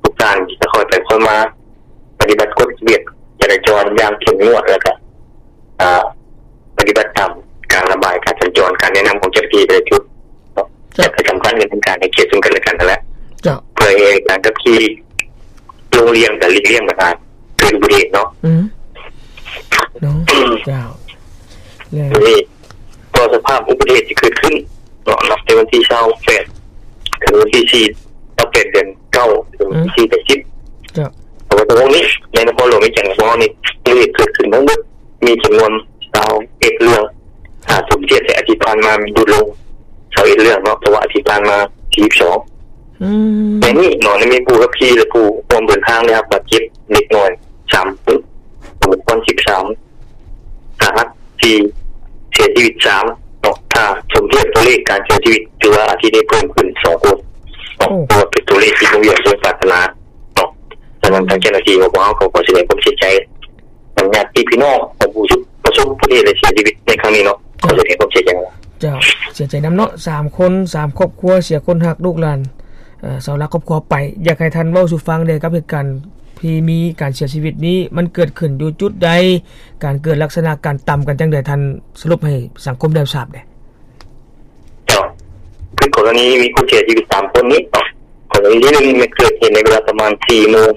ທຸກທ່ານທີ່ຈະຄ່ອຍໄປຄ່ອຍມາ ປະຕິບັດກົດລະບຽບຈະລາຈອນຢ່າງເຂັ້ມງວດ ແລ້ວກໍ ເອີ ປະຕິບັດຕາມການລະບາຍການສັນຈອນ ການແນະນຳຂອງເຈົ້າໜ້າທີ່ແຕ່ລະຈຸດເນາະ. ເຈົ້າ. ແລະ ກໍສຳຄັນກໍຄືການໃຫ້ກຽດເຊິ່ງກັນແລະກັນຫັ້ນແຫຼະ ເຈົ້າ. ເພື່ອໃຫ້ການຂັບຂີ່ລົງລຽງ ແລະ ຫຼີກລ້ຽງບັນຫາເກີດອຸບັດຕິເຫດເນາະ. ອືມ ເນາະ ເຈົ້າ. ແລ້ວ ນີ້ ຕໍ່ສະພາບອຸບັດຕິເຫດທີ່ເກີດຂຶ້ນເນາະ ນັບແຕ່ວັນທີຊາວແປດ ເຖິງວັນທີສີ່ ຊາວແປດ ເດືອນເກົ້າ ເຖິງວັນທີ ອືມ ສີ່ ເດືອນສິບ ເຈົ້າ. ເອົາໄວ້ຕະຫຼອດນີ້ ໃນນະຄອນຫຼວງວຽງຈັນຂອງເຮົານີ້ ອຸບັດຕິເຫດເກີດຂຶ້ນທັງໝົດມີຈຳນວນຊາວເອັດເລື່ອງ ຖ້າສົມທຽບໃສ່ອາທິດຜ່ານມາ ມັນຫຼຸດລົງຊາວເອັດເລື່ອງເນາະ ເພາະວ່າອາທິດຜ່ານມາ ສີ່ສິບສອງ ອືມ ໃນນີ້ເນາະ ໄດ້ມີຜູ້ຂັບຂີ່ ແລະ ຜູ້ຮ່ວມເດີນທາງໄດ້ຮັບບາດເຈັບເລັກນ້ອຍ ສາມຄົນ ສົມຄວນ ສິບສາມ ສາຫັດ ສີ່ ເສຍຊີວິດ ສາມ ເນາະ. ຖ້າສົມທຽບຕົວເລກການເສຍຊີວິດ ຖືວ່າອາທິດນີ້ເພີ່ມຂຶ້ນ ສອງຄົນເນາະ ໂອ້ ຖືວ່າເປັນຕົວເລກທີ່ບໍ່ຢາກເບິ່ງປາດຖະໜາເນາະ. ສະນັ້ນ ທາງເຈົ້າໜ້າທີ່ຂອງພວກເຮົາກໍຂໍສະແດງຄວາມເສຍໃຈນຳຍາດຕິພີ່ນ້ອງຂອງຜູ້ປະສົບອຸບັດຕິເຫດ ແລະ ເສຍຊີວິດໃນຄັ້ງນີ້ເນາະ ຂໍສະແດງຄວາມເສຍໃຈ. ເຈົ້າ ເສຍໃຈນຳເນາະ ສາມຄົນ ສາມຄອບຄົວ ເສຍຄົນຮັກ ລູກຫຼານ ເອີ ເສົາຫຼັກຄອບຄົວໄປ. ຢາກໃຫ້ທ່ານເວົ້າສູ່ຟັງແດ່ກັບເຫດການທີ່ມີການເສຍຊີວິດນີ້ ມັນເກີດຂຶ້ນຢູ່ຈຸດໃດ? ການເກີດລັກສະນະການຕຳກັນຈັ່ງໃດ? ທ່ານສະຫຼຸບໃຫ້ສັງຄົມໄດ້ຮັບຊາບແດ່. ເຈົ້າ ຄືກໍລະນີມີຄົນເສຍຊີວິດສາມຄົນນີ້ເນາະ ກໍລະນີທີໜຶ່ງ ແມ່ນເກີດເຫດໃນເວລາປະມານສີ່ໂມງ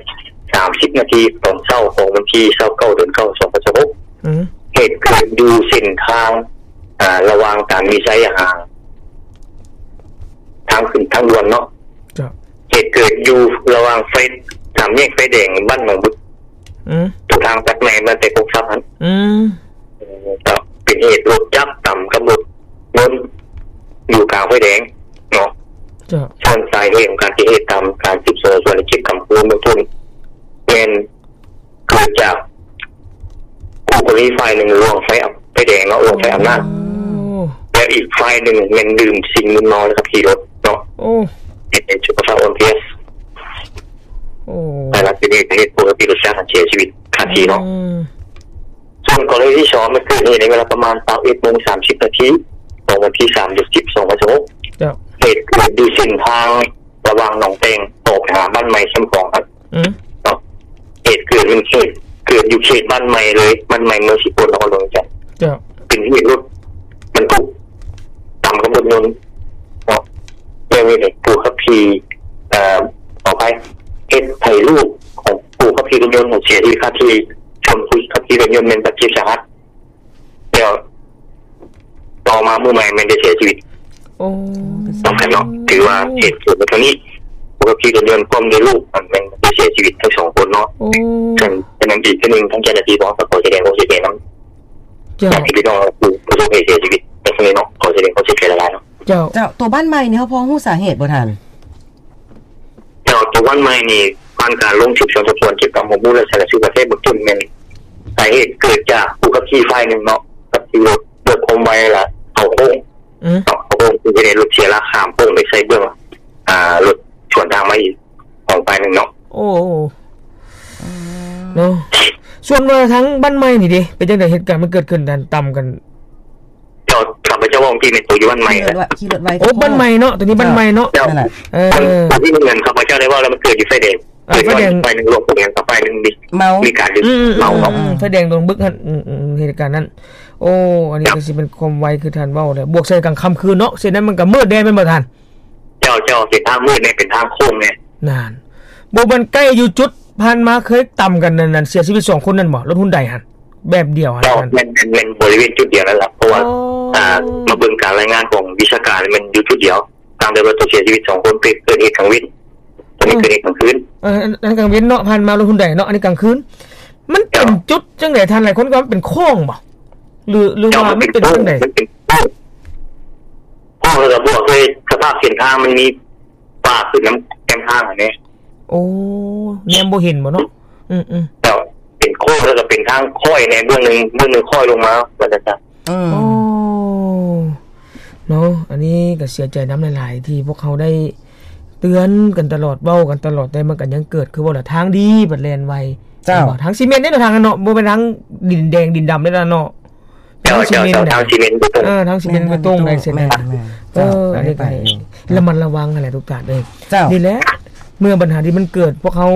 ສາມສິບນາທີຕອນເຊົ້າຂອງວັນທີຊາວເກົ້າ ເດືອນເກົ້າ ສອງພັນຊາວຫົກ ອືມ ເຫດເກີດຢູ່ເສັ້ນທາງ ອາ ລະຫວ່າງຕານມີໄຊຫາທາງຂຶ້ນທາງດ່ວນເນາະ. ເຈົ້າ. ເຫດເກີດຢູ່ລະຫວ່າງໄຟ ສາມແຍກໄຟແດງບ້ານໜອງບຶກ ອືມ ຕົວທາງຕັດໃໝ່ມາແຕ່ກົກຊັບຫັ້ນ ອືມ ເຈົ້າ. ເປັນເຫດລົດຈັກຕຳກັບລົດຍົນຢູ່ກາງໄຟແດງເນາະ. ເຈົ້າ. ສ່ວນສາເຫດຂອງການເກີດເຫດຕາມການສືບສວນສອບສວນ ແລະ ເກັບກຳຂໍ້ມູນເບື້ອງຕົ້ນ ແມ່ນເກີດຈາກຄູ່ກໍລະນີຝ່າຍໜຶ່ງລ່ວງໄຟ ໄຟແດງເນາະ ລ່ວງໄຟອຳນາດ ໂອ້ ແລະ ອີກຝ່າຍໜຶ່ງແມ່ນດື່ມສິ່ງມຶນເມົາແລ້ວຂັບຂີ່ລົດເນາະ ໂອ້ ເຮັດໃຫ້ສຸຂະພາບອ່ອນເພຍ ໂອ້ ແລະ ເປັນເຫດໃຫ້ຜູ້ຂັບຂີ່ລົດຈັກຫັ້ນເສຍຊີວິດຄາທີ່ເນາະ ອືມ. ສ່ວນກໍລະນີທີສອງ ມັນເກີດເຫດໃນເວລາປະມານຊາວເອັດໂມງສາມສິບນາທີຂອງວັນທີສາມ ເດືອນສິບ ສອງພັນຊາວຫົກ ເຈົ້າ. ເຫດເກີດຢູ່ເສັ້ນທາງລະຫວ່າງໜອງແຕ່ງ ອອກໄປຫາບ້ານໃໝ່ແຄມຂອງຫັ້ນ ອືມ ເນາະ. ເຫດເກີດ ມັນເຫດເກີດຢູ່ເຂດບ້ານໃໝ່ເລີຍ ບ້ານໃໝ່ເມືອງສີໂຄດ ນະຄອນຫຼວງວຽງຈັນ ເຈົ້າ ເປັນເຫດລົດບັນທຸກຕຳກັບລົດຍົນເນາະ. ແລ້ວນີ້ຜູ້ຂັບຂີ່ ເອີ ຂໍອະໄພ ເຮັດໃຫ້ລູກຂອງຜູ້ຂັບຂີ່ລົດຍົນເສຍຊີວິດຄາທີ່, ສ່ວນຜູ້ຂັບຂີ່ລົດຍົນແມ່ນບາດເຈັບສາຫັດ ແລ້ວຕໍ່ມາມື້ໃໝ່ແມ່ນໄດ້ເສຍຊີວິດ. ໂອ້ ສຳຄັນເນາະ ຖືວ່າເຫດເກີດໃນຄັ້ງນີ້ ຜູ້ຂັບຂີ່ລົດຍົນພ້ອມດ້ວຍລູກ ມັນແມ່ນໄດ້ເສຍຊີວິດທັງສອງຄົນເນາະ. ໂອ້ ສະນັ້ນ ສະນັ້ນອີກເທື່ອໜຶ່ງ ທາງເຈົ້າໜ້າທີ່ຂອງ ກໍຂໍສະແດງຄວາມເສຍໃຈນຳ ເຈົ້າ ຍາດຕິພີ່ນ້ອງຜູ້ປະສົບເຫດເສຍຊີວິດໃນຄັ້ງນີ້ເນາະ. ຂໍສະແດງຄວາມເສຍໃຈຫຼາຍໆເນາະ. ເຈົ້າ ເຈົ້າ ໂຕບ້ານໃໝ່ນີ້ ເຮົາພໍຮູ້ສາເຫດບໍ່ທ່ານ? ເຈົ້າ ໂຕບ້ານໃໝ່ນີ້ ຜ່ານການລົງສືບສວນສອບສວນ ເກັບກຳຂໍ້ມູນ ແລະ ຊະນະສູດບາດແຜເບື້ອງຕົ້ນ ແມ່ນສາເຫດເກີດຈາກຜູ້ຂັບຂີ່ຝ່າຍໜຶ່ງເນາະ ຂັບຂີ່ລົດດ້ວຍຄວາມໄວ ແລະ ເຂົ້າໂຄ້ງ ອືມ ເນາະ ເຂົ້າໂຄ້ງ ເຮັດໃຫ້ລົດເສຍຫຼັກຂ້າມໂຄ້ງໄປໃສ່ເບື້ອງ ອ່າ ລົດສວນທາງມາອີກຂອງຝ່າຍໜຶ່ງເນາະ. ໂອ້ ອືມ ເນາະ. ສ່ວນວ່າທາງບ້ານໃໝ່ນີ້ເດ ເປັນຈັ່ງໃດ? ເຫດການມັນເກີດຂຶ້ນ ອັນ ຕຳກັນ ເຈົ້າ ຂ້າພະເຈົ້າເວົ້າທີ່ແມ່ນໂຕຢູ່ບ້ານໃໝ່ ຂີ່ລົດໄວ ຂີ່ລົດໄວ ໂອ້ ໂອ້ ບ້ານໃໝ່ເນາະ ໂຕນີ້ບ້ານໃໝ່ເນາະ. ເຈົ້າ ນັ້ນແຫຼະ ເອີ ເອີ ທີ່ເງິນຂ້າພະເຈົ້າໄດ້ເວົ້າແລ້ວ ມັນເກີດຢູ່ໄຟແດງ ເອີ ໄຟແດງ ຝ່າຍໜຶ່ງລົງໄຟແດງ ກັບຝ່າຍໜຶ່ງມີ ເມົາ ມີການດື່ມ ອືມ ເມົາເນາະ ອືມ ອືມ ໄຟແດງໂດນບຶກຫັ້ນ ອືມ ອືມ ເຫດການນັ້ນ. ໂອ້ ອັນນີ້ກໍຊິເປັນຄວາມໄວຄືທ່ານເວົ້າແຫຼະ ບວກໃສ່ກາງຄ່ຳຄືນເນາະ ເຊັ່ນນັ້ນມັນກໍມືດແດ່ແມ່ນບໍ່ທ່ານ? ເຈົ້າ ເຈົ້າ ເປັນທາງມືດແດ່ ເປັນທາງໂຄ້ງແດ່. ນັ້ນ ບໍ່ແມ່ນໃກ້ຢູ່ຈຸດຜ່ານມາເຄີຍຕຳກັນນັ້ນ ເສຍຊີວິດສອງຄົນນັ້ນບໍ່? ລົດຮຸນໄດຫັ້ນ ແບບດຽວຫັ້ນ. ເຈົ້າ ແມ່ນ ແມ່ນ ແມ່ນບໍລິເວນຈຸດດຽວນັ້ນລະ ເພາະວ່າ ໂອ້ ອ່າ ມາເບິ່ງການລາຍງານຂອງວິຊາການ ແມ່ນຢູ່ຈຸດດຽວ ຕ່າງແຕ່ວ່າຕົວເສຍຊີວິດສອງຄົນ ເກີດ ເກີດເຫດກາງເວັນ ຕົວນີ້ ເກີດເຫດກາງຄືນ. ເອີ ອັນ ອັນກາງເວັນເນາະ ຜ່ານມາລົດຮຸນໄດເນາະ ອັນນີ້ກາງຄືນ. ມັນເປັນ ເຈົ້າ ຈຸດຈັ່ງໃດທ່ານ? ຫຼາຍຄົນກໍວ່າມັນເປັນໂຄ້ງບໍ່ ຫຼື ຫຼືວ່າມັນເປັນຈັ່ງໃດ? ເຈົ້າ ມັນເປັນໂຄ້ງ ໂຄ້ງ ແລ້ວກໍບວກດ້ວຍສະພາບເສັ້ນທາງມັນມີປ່າຂຶ້ນນຳແຄມທາງຫັ້ນເດ້. ໂອ້ ແນມບໍ່ເຫັນບໍ່ເນາະ. ອືມໆ ເຈົ້າ ເປັນໂຄ້ງ ແລ້ວກໍເປັນທາງຄ້ອຍແດ່ ເບື້ອງໜຶ່ງ ເບື້ອງໜຶ່ງຄ້ອຍລົງມາ ວ່າຊັ້ນຊະ. ອືມ ໂອ້ ເນາະ ອັນນີ້ກໍເສຍໃຈນຳຫຼາຍໆ ທີ່ພວກເຮົາໄດ້ເຕືອນກັນຕະຫຼອດ ເວົ້າກັນຕະຫຼອດ ແຕ່ມັນກໍຍັງເກີດ ຄືວ່າລະ ທາງດີບັດແລ່ນໄວ. ເຈົ້າ ທາງຊີເມັນເດ້ເນາະ ທາງນັ້ນເນາະ ບໍ່ແມ່ນທາງດິນແດງດິນດຳເດ້ເນາະ. ເຈົ້າ ທາງຊີເມັນ ເຈົ້າ ເຈົ້າ ທາງຊີເມັນເບຕົງ ເອີ ທາງຊີເມັນເບຕົງ ແມ່ນ ແມ່ນ ໄດ້ເສຍ ແມ່ນ ແມ່ນ ເອີ ເຈົ້າ ອັນນີ້ກໍ ໄດ້ໄປ ລະມັດລະວັງຫັ້ນແຫຼະທຸກທ່ານເອີຍ. ເຈົ້າ ນີ້ແຫຼະ ເມື່ອບັນຫາທີ່ມັນເກີດ ພວກເຮົາ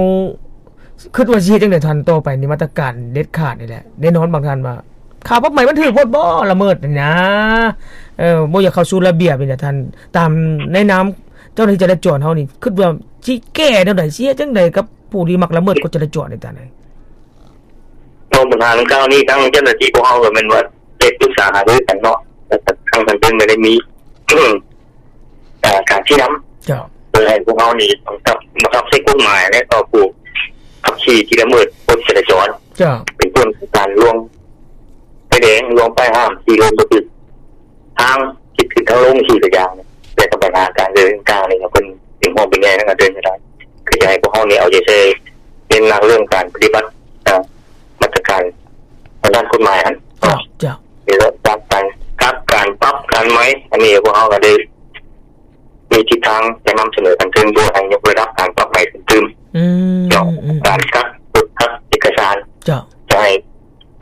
ຄິດວ່າຊິເຮັດຈັ່ງໃດທ່ານ ຕໍ່ໄປນີ້ ມາດຕະການເດັດຂາດນີ້ແຫຼະ. ແນ່ນອນບາງທ່ານວ່າ ຄ່າປັບໃໝມັນຖືກໂພດບໍ ລະເມີດນີ້ນະ ເອີ ບໍ່ຢາກເຂົ້າສູ່ລະບຽບນີ້ນະທ່ານ. ຕາມໃນນາມເຈົ້າໜ້າທີ່ຈະລາຈອນເຮົານີ້ ຄິດວ່າຊິແກ້ແນວໃດ ຊິເຮັດຈັ່ງໃດກັບຜູ້ທີ່ມັກລະເມີດກົດຈະລາຈອນນີ້ທ່ານເອີຍ? ຕໍ່ບັນຫາດັ່ງກ່າວນີ້ ທາງເຈົ້າໜ້າທີ່ພວກເຮົາກໍແມ່ນວ່າໄດ້ປຶກສາຫາລືກັນເນາະ ແລ້ວກໍທາງຂັ້ນເທິງກໍໄດ້ມີ ອ່າ ການຊີ້ນຳ ເຈົ້າ ເພື່ອໃຫ້ພວກເຮົານີ້ຕ້ອງກັບ ບັງຄັບໃຊ້ກົດໝາຍ ແລະ ຕໍ່ຜູ້ຂັບຂີ່ທີ່ລະເມີດກົດຈະລາຈອນ ເຈົ້າ ເປັນຕົ້ນການລ່ວງໄຟແດງ ລ່ວງປ້າຍຫ້າມ ຂີ່ລົດບໍ່ຖືກທາງ ຜິດທາງລົງ ຂີ່ກະຢ່າງ ແລະ ກໍບັນຫາການເດີນທາງນີ້ ເພິ່ນເປັນຫ່ວງເປັນໃຍນຳການເດີນທາງ ກໍຢາກໃຫ້ພວກເຮົານີ້ເອົາໃຈໃສ່ ເນັ້ນໜັກເລື່ອງການປະຕິບັດ ເອີ ມາດຕະການທາງດ້ານກົດໝາຍຫັ້ນ ເຈົ້າ ເຈົ້າ ມີເລື່ອງການກັກ ການປັບ ການໃໝ ອັນນີ້ພວກເຮົາກໍໄດ້ມີທິດທາງຈະນຳສະເໜີຂັ້ນເທິງ ເພື່ອໃຫ້ຍົກລະດັບການປັບໃໝຕື່ມໆ ອືມ ເຈົ້າ ອືມ ການກັກ ກົດກັກເອກະສານ ເຈົ້າ ຈະໃຫ້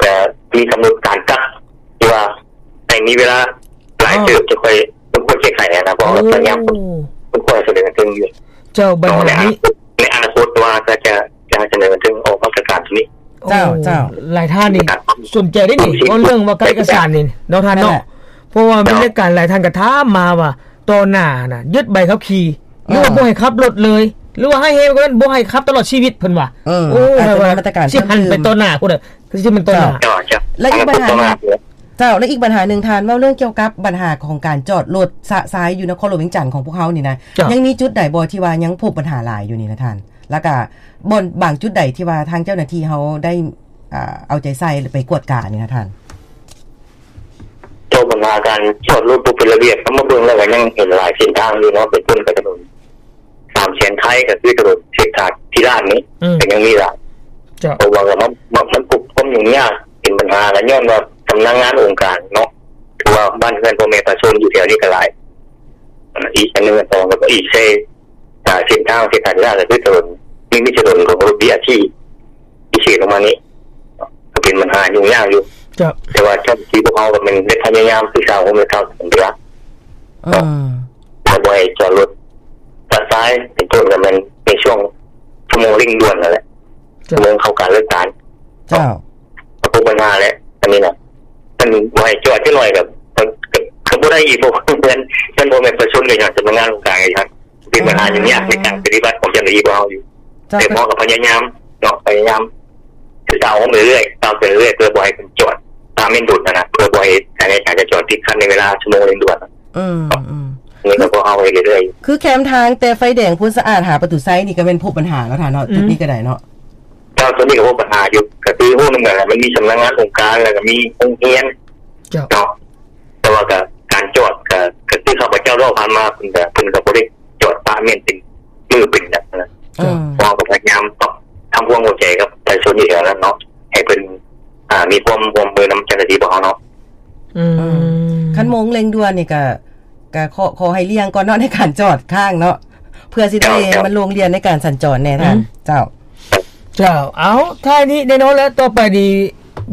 ກໍມີກຳນົດການກັກ ທີ່ວ່າໃຫ້ມີເວລາຫຼາຍເຕີບ ອໍ ຈະຄ່ອຍ ຕ້ອງຄ່ອຍແກ້ໄຂຫັ້ນນະ ເພາະວ່າ ໂອ້ ພະຍາຍາມ ຕ້ອງຄ່ອຍສະເໜີຂຶ້ນຢູ່ ເຈົ້າ ບັນຫານີ້ ໃນອະນາຄົດ ໃນອະນາຄົດວ່າຈະ ຈະ ຈະສະເໜີເຖິງອອກມາດຕະການໂຕນີ້. ເຈົ້າ ໂອ້ ເຈົ້າ ຫຼາຍທ່ານນີ້ສົນໃຈເດ້ນີ້ ເວົ້າເລື່ອງວ່າກັກເອກະສານນີ້ເນາະທ່ານເນາະ ເຈົ້າ ເພາະວ່າມີ ເຈົ້າ ລາຍການຫຼາຍທ່ານກໍຖາມມາວ່າ ຕໍ່ໜ້າຫັ້ນນະ ຍຶດໃບຂັບຂີ່ ຫຼືວ່າ ເອີ ບໍ່ໃຫ້ຂັບລົດເລີຍ ຫຼືວ່າຮ້າຍແຮງກວ່ານັ້ນ ບໍ່ໃຫ້ຂັບຕະຫຼອດຊີວິດ ເພິ່ນວ່າ. ເອີ ໂອ້ ອາດຈະມີມາດຕະການ ຊິຫັນໄປຕໍ່ໜ້າພຸ້ນ ຄືຊິແມ່ນຕໍ່ໜ້າ ເຈົ້າ ເຈົ້າ ເຈົ້າ ແລະ ອີກບັນຫາໜຶ່ງ ເຈົ້າ ແລະ ອີກບັນຫາໜຶ່ງ ທ່ານເວົ້າເລື່ອງກ່ຽວກັບບັນຫາຂອງການຈອດລົດຊະຊາຍຢູ່ນະຄອນຫຼວງວຽງຈັນຂອງພວກເຮົານີ້ນະ ເຈົ້າ ຍັງມີຈຸດໃດບໍ່ທີ່ວ່າຍັງພົບບັນຫາຫຼາຍຢູ່ນີ້ນະທ່ານ? ແລ້ວກະບ່ອນບາງຈຸດໃດທີ່ວ່າທາງເຈົ້າໜ້າທີ່ເຮົາໄດ້ ອ່າ ເອົາໃຈໃສ່ ຫຼື ໄປກວດການີ້ນະທ່ານ? ຕໍ່ບັນຫາການຈອດລົດບໍ່ເປັນລະບຽບ ເຮົາມາເບິ່ງແລ້ວກໍຍັງເຫັນຫຼາຍເສັ້ນທາງຢູ່ເນາະ ເປັນຕົ້ນກໍຖະໜົນ ສາມແສນໄທ ກໍຄືຖະໜົນເສດຖາທິລາດນີ້ ອືມ ກໍຍັງມີຫຼາຍ ເຈົ້າ ເພາະວ່າມັນ ມັນ ມັນພົບຄວາມຫຍຸ້ງຍາກ ເປັນບັນຫາກໍຍ້ອນວ່າສຳນັກງານອົງການເນາະ ຖືວ່າບ້ານເຮືອນພໍ່ແມ່ປະຊາຊົນຢູ່ແຖວນີ້ກໍຫຼາຍ. ອີກອັນໜຶ່ງ ອັນສອງ ກໍອີກໃສ່ ອ່າ ເສັ້ນທາງເສດຖາທິລາດ ກໍຄືຖະໜົນ ມີ ມີຖະໜົນຂອງລົດ ບີອາທີ ພິເສດລົງມານີ້ ກໍເປັນບັນຫາຫຍຸ້ງຍາກຢູ່ ເຈົ້າ ແຕ່ວ່າເຈົ້າໜ້າທີ່ພວກເຮົາກໍແມ່ນໄດ້ພະຍາຍາມສຶກສາຮ່ວມກັບທາງການ ອືມ ເນາະ ແຕ່ບໍ່ໃຫ້ຈອດລົດຊະຊາຍ ເປັນຕົ້ນກໍແມ່ນໃນຊ່ວງຊົ່ວໂມງເລັ່ງດ່ວນນັ້ນແຫຼະ ເຈົ້າ ຊົ່ວໂມງເຂົ້າການເລີກການ ເຈົ້າ ກໍພົບບັນຫາແຫຼະ ອັນນີ້ນະ. ຄັນບໍ່ໃຫ້ຈອດຈັກໜ້ອຍກໍ ກໍ ກໍບໍ່ໄດ້ອີກ ເພາະວ່າມັນ ມັນບໍ່ແມ່ນປະຊາຊົນ ກໍຍ້ອນສຳນັກງານອົງການກໍຍ້ອນ ເປັນບັນຫາຫຍຸ້ງຍາກໃນການປະຕິບັດຂອງເຈົ້າໜ້າທີ່ພວກເຮົາຢູ່. ເຈົ້າ ແຕ່ພວກເຮົາກໍພະຍາຍາມເນາະ ພະຍາຍາມ ຄືກ້າວໄປເລື້ອຍ ກ້າວໄປເລື້ອຍ ເພື່ອບໍ່ໃຫ້ເພິ່ນຈອດຕາມເວລາດ່ວນຫັ້ນນະ ເພື່ອບໍ່ໃຫ້ການຈະຈອດຕິດຂັດໃນເວລາຊົ່ວໂມງເລັ່ງດ່ວນ. ອືມ ອືມ ນີ້ກໍພວກເຮົາເຮັດເລື້ອຍໆ ຄືແຄມທາງແຕ່ໄຟແດງໂພນສະອາດຫາປະຕູໄຊນີ້ກໍແມ່ນພົບບັນຫາແລ້ວທ່ານເນາະ. ອືມ ຈຸດນີ້ກໍໄດ້ເນາະ. ເຈົ້າ ສ່ວນນີ້ກໍພົບບັນຫາຢູ່ ກໍຄືຮູ້ນຳກັນແຫຼະ ມັນມີສຳນັກງານອົງການ ແລ້ວກໍມີໂຮງຮຽນ ເຈົ້າ ເນາະ. ແຕ່ວ່າກໍການຈອດກໍ ກໍຄືຂ້າພະເຈົ້າເວົ້າຜ່ານມາ ເພິ່ນກໍ ເພິ່ນກໍບໍ່ໄດ້ຈອດປະແມ່ນເປັນມື້ເປັນຫຍັງນະ. ເຈົ້າ ອືມ ພວກເຮົາກໍພະຍາຍາມປັບທຳຄວາມເຂົ້າໃຈກັບປະຊາຊົນຢູ່ແຖວນັ້ນເນາະ ໃຫ້ເພິ່ນ ອ່າ ມີຄວາມຮ່ວມມືນຳເຈົ້າໜ້າທີ່ພວກເຮົາເນາະ. ອືມ ອືມ ຄັນໂມງເລັ່ງດ່ວນນີ້ກໍ ກໍຂໍ ຂໍໃຫ້ລ່ຽງກ່ອນເນາະ ໃນການຈອດຄ້າງເນາະ ເພື່ອຊິໄດ້ ເຈົ້າ ເຈົ້າ ມັນໂລ່ງລ່ຽນໃນການສັນຈອນແດ່ທ່ານ. ອືມ ເຈົ້າ ເຈົ້າ ເອົາ ທ້າຍນີ້ແນ່ນອນແລ້ວ ຕໍ່ໄປນີ້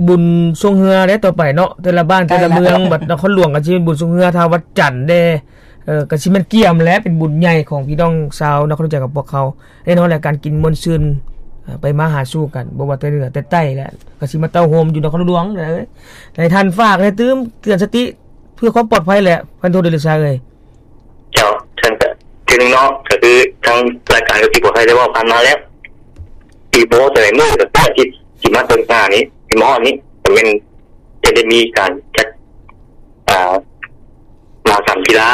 ບຸນຊ່ວງເຮືອແລ້ວຕໍ່ໄປເນາະ ແຕ່ລະບ້ານແຕ່ລະເມືອງ ໃກ້ແລ້ວ ບັດນະຄອນຫຼວງກໍຊິເປັນບຸນຊ່ວງເຮືອ ຖ້າວັດຈັນແດ່ ເອີ ກໍຊິແມ່ນກຽມແຫຼະ ເປັນບຸນໃຫຍ່ຂອງພີ່ນ້ອງຊາວນະຄອນຫຼວງຈັນກັບພວກເຮົາ. ແນ່ນອນແຫຼະ ການກິນມ່ວນຊື່ນ ເອີ ໄປມາຫາສູ່ກັນ ບໍ່ວ່າແຕ່ເໜືອແຕ່ໃຕ້ແຫຼະ ກໍຊິມາເຕົ້າໂຮມຢູ່ນະຄອນຫຼວງເດີ. ໃຫ້ທ່ານຝາກແດ່ ຕື່ມເຕືອນສະຕິ ເພື່ອຄວາມປອດໄພແຫຼະ ພັນໂທ ເດລະຊາເອີຍ. ເຈົ້າ ເຊິ່ງກໍ ເທື່ອໜຶ່ງເນາະ ກໍຄືທາງລາຍການກໍຊິບໍ່ໃຫ້ໄດ້ເວົ້າຜ່ານມາແລ້ວ ອີກບໍ່ເທົ່າໃດມື້ ກໍຄືອາທິດຊິມາເຖິງໜ້ານີ້ ຊິມາຮອດນີ້ ກໍແມ່ນຈະໄດ້ມີການຈັດ ອ່າ ມະຫະກຳກິລາ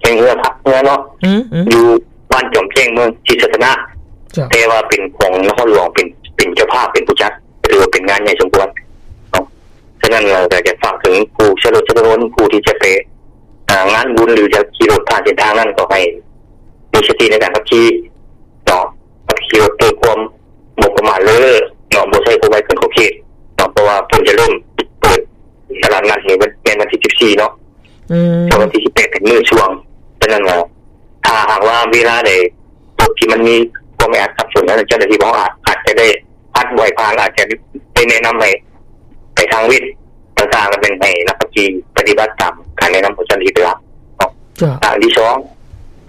ແຂ່ງເຮືອພາຍເຮືອເນາະ ອືມ ອືມ ຢູ່ບ້ານຈອມແຈ້ງ ເມືອງສີສັດຕະນາກ ເຈົ້າ ແຕ່ວ່າເປັນຂອງນະຄອນຫຼວງ ເປັນ ເປັນເຈົ້າພາບ ເປັນຜູ້ຈັດ ຖືວ່າເປັນງານໃຫຍ່ສົມຄວນເນາະ. ສະນັ້ນແລ້ວກໍຢາກຝາກເຖິງຜູ້ໃຊ້ລົດໃຊ້ຖະໜົນ ຜູ້ທີ່ຈະໄປ ອ່າ ງານບຸນ ຫຼື ຈະຂີ່ລົດຜ່ານເສັ້ນທາງນັ້ນ ກໍໃຫ້ມີສະຕິໃນການຂັບຂີ່ເນາະ ຂັບຂີ່ລົດດ້ວຍຄວາມບໍ່ປະໝາດເລີ້ເນາະ ບໍ່ໃຊ້ຄວາມໄວເກີນຂອບເຂດເນາະ ເພາະວ່າເພິ່ນຈະເລີ່ມເປີດຕະຫຼາດນັດນີ້ແມ່ນວັນທີສິບສີ່ເນາະ ອືມ ສ່ວນວັນທີສິບແປດເປັນມື້ຊ່ວງ. ສະນັ້ນແລ້ວ ຖ້າຫາກວ່າເວລາໃດ ຈຸດທີ່ມັນມີຄວາມແອອັດສັບສົນນັ້ນ ເຈົ້າໜ້າທີ່ຂອງເຮົາອາດ ອາດຈະໄດ້ ພັດບໍ່ໃຫ້ຜ່ານ ອາດຈະໄດ້ແນະນຳໃຫ້ໄປທາງເວັບຕ່າງໆ ແລ້ວແມ່ນໃຫ້ນັກຂັບຂີ່ປະຕິບັດຕາມການແນະນຳຂອງເຈົ້າໜ້າທີ່ເປັນຫຼັກເນາະ. ເຈົ້າ ອັນທີສອງ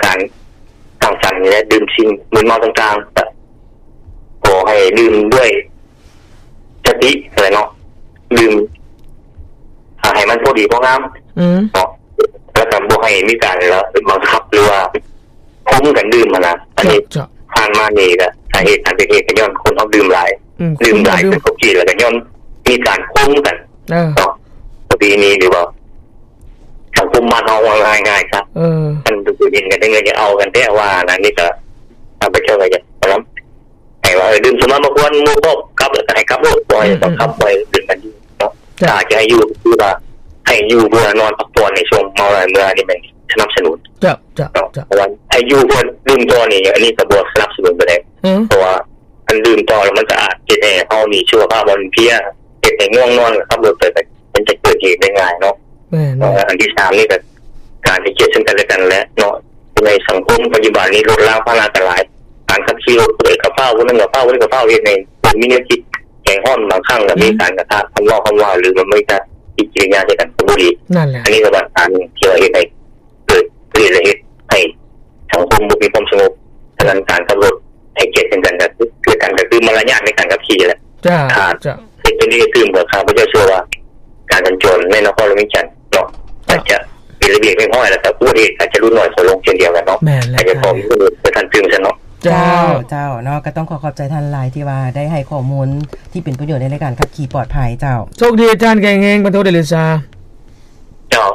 ການສັງສັນ ແລະ ດື່ມສິ່ງມຶນເມົາຕ່າງໆ ກໍຂໍໃຫ້ດື່ມດ້ວຍສະຕິຫັ້ນແຫຼະເນາະ ດື່ມ ອ່າ ໃຫ້ມັນພໍດີພໍງາມ ອືມ ເນາະ ແລ້ວກໍບໍ່ໃຫ້ມີການບັງຄັບ ຫຼືວ່າ ຄົມກັນດື່ມຫັ້ນນະ. ອັນນີ້ ເຈົ້າ ເຈົ້າ ຜ່ານມານີ້ກະສາເຫດການເກີດເຫດກໍຍ້ອນຄົນເຮົາດື່ມຫຼາຍ ອືມ ດື່ມຫຼາຍ ຄົມກັນ ເກີນຂອບເຂດ ແລ້ວກໍຍ້ອນມີການຄົມກັນ ເອີ ເນາະ ປະເພນີ ຫຼືວ່າສັງຄົມບ້ານເຮົາເວົ້າງ່າຍໆຊະ ເອີ ຄັນຜູ້ຍິງກັນໄດ້ເງິນຈະເອົາກັນແທ້ວ່ານັ້ນ. ນີ້ກະຂ້າພະເຈົ້າກໍຢາກນຳໃຫ້ວ່າ ເອີ ດື່ມສຸລາມາກວນໝູ່ຄອບກັບ ແລ້ວກໍໃຫ້ກັບໂລດ ບໍ່ໃຫ້ ອືມ ບັງຄັບ ອືມ ບໍ່ໃຫ້ດື່ມກັນຢູ່ເນາະ. ເຈົ້າ ຖ້າຈະໃຫ້ຢູ່ ຄືວ່າໃຫ້ຢູ່ເພື່ອນອນພັກຜ່ອນໃນຊ່ວງເມົາຫຼາຍເມື່ອ ອັນນີ້ແມ່ນສະໜັບສະໜູນ ເຈົ້າ ເຈົ້າ ເຈົ້າ ເພາະວ່າໃຫ້ຢູ່ເພື່ອດື່ມຕໍ່ນີ້ ອັນນີ້ກໍບໍ່ສະໜັບສະໜູນປານໃດ ອືມ ເພາະວ່າຄັນດື່ມຕໍ່ແລ້ວມັນກໍອາດເຮັດໃຫ້ເຮົານີ້ສຸຂະພາບອ່ອນເພຍ ເຮັດໃຫ້ງ່ວງນອນ ຂັບລົດໄປ ມັນຈະເກີດເຫດໄດ້ງ່າຍເນາະ. ແມ່ນໆ ອັນທີສາມນີ້ກໍການໃຫ້ກຽດເຊິ່ງກັນແລະກັນແຫຼະເນາະ. ໃນສັງຄົມປັດຈຸບັນນີ້ລົດລາງພາຫະນະກໍຫຼາຍ ການຂັບຂີ່ລົດຜູ້ໃດກໍຟ້າວ ຜູ້ໜຶ່ງກໍຟ້າວ ຜູ້ໜຶ່ງກໍຟ້າວ ເຮັດໃຫ້ຄົນມີແນວຄິດໃຈຮ້ອນ ບາງຄັ້ງກໍມີ ອືມ ການກະທຳຄຳເວົ້າ ຫຼືວ່າມີການປະຕິກິລິຍາໃສ່ກັນກໍບໍ່ດີ. ນັ້ນແຫຼະ ອັນນີ້ກໍບັນຫາໜຶ່ງທີ່ວ່າເຮັດໃຫ້ ເກີດເຫດ ແລະ ເຮັດໃຫ້ສັງຄົມບໍ່ມີຄວາມສະຫງົບ. ສະນັ້ນການຂັບລົດໃຫ້ກຽດເຊິ່ງກັນ ກໍຄື ຄືກັນ ກໍຄືມາລະຍາດໃນການຂັບຂີ່ແຫຼະ. ເຈົ້າ ຖ້າ ເຈົ້າ ເຮັດເປັນທີ່ຕື່ມ ກໍຂ້າພະເຈົ້າເຊື່ອວ່າການສັນຈອນໃນນະຄອນຫຼວງວຽງຈັນເນາະ ເຈົ້າ ອາດຈະເປັນລະບຽບຮຽບຮ້ອຍ ແລ້ວກໍອຸບັດຕິເຫດອາດຈະຫຼຸດໜ້ອຍຖອຍລົງເຊັ່ນດຽວກັນເນາະ. ແມ່ນແລ້ວ ອາດຈະຂໍມີຜູ້ອື່ນໄປທັນຕື່ມຊັ້ນເນາະ. ເຈົ້າ ເຈົ້າ ເຈົ້າເນາະ ກໍຕ້ອງຂໍຂອບໃຈທ່ານຫຼາຍທີ່ວ່າໄດ້ໃຫ້ຂໍ້ມູນທີ່ເປັນປະໂຫຍດໃນການຂັບຂີ່ປອດໄພ. ເຈົ້າ ໂຊກດີອາຈານ ແຂງແຮງ ພັນໂທ ເດລະຊາ. ເຈົ້າ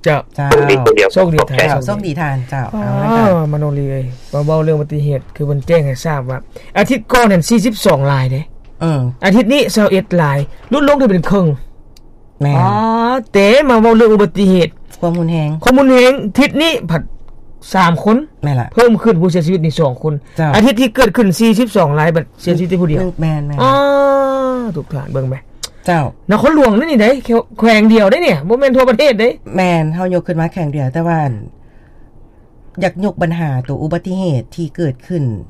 ເຈົ້າ ເຈົ້າ ໂຊກດີຄົນດຽວ ໂຊກດີທ່ານ ເຈົ້າ ໂຊກດີທ່ານ ເຈົ້າ. ເອົາລະ ມະໂນລີເອີຍ ມາເວົ້າເລື່ອງອຸບັດຕິເຫດ ຄືເພິ່ນແຈ້ງໃຫ້ຊາບວ່າ ອາທິດກ່ອນຫັ້ນ ສີ່ສິບສອງລາຍເດ້ ອືມ ອາທິດນີ້ ຊາວເອັດລາຍ ຫຼຸດລົງໄດ້ເປັນເຄິ່ງ. ແມ່ນ ອໍ ແຕ່ມາເວົ້າເລື່ອງອຸບັດຕິເຫດ ຄວາມຮຸນແຮງ ຄວາມຮຸນແຮງ ທິດນີ້ພັດສາມຄົນ ແມ່ນລະ ເພີ່ມຂຶ້ນ ຜູ້ເສຍຊີວິດນີ້ສອງຄົນ. ເຈົ້າ ອາທິດທີ່ເກີດຂຶ້ນ ສີ່ສິບສອງລາຍ ບັດເສຍຊີວິດໄດ້ຜູ້ດຽວ. ແມ່ນໆ ອໍ ທຸກທ່ານເບິ່ງແມ ເຈົ້າ ນະຄອນຫຼວງນີ້ໄດ໋ ແຂວງ ແຂວງດຽວໄດ໋ນີ້ ບໍ່ແມ່ນທົ່ວປະເທດເດ້. ແມ່ນ ເຮົາຍົກຂຶ້ນມາແຂວງດຽວ ແຕ່ວ່າ ຢາກຍົກບັນຫາໂຕອຸບັດຕິເຫດທີ່ເກີດຂຶ້ນ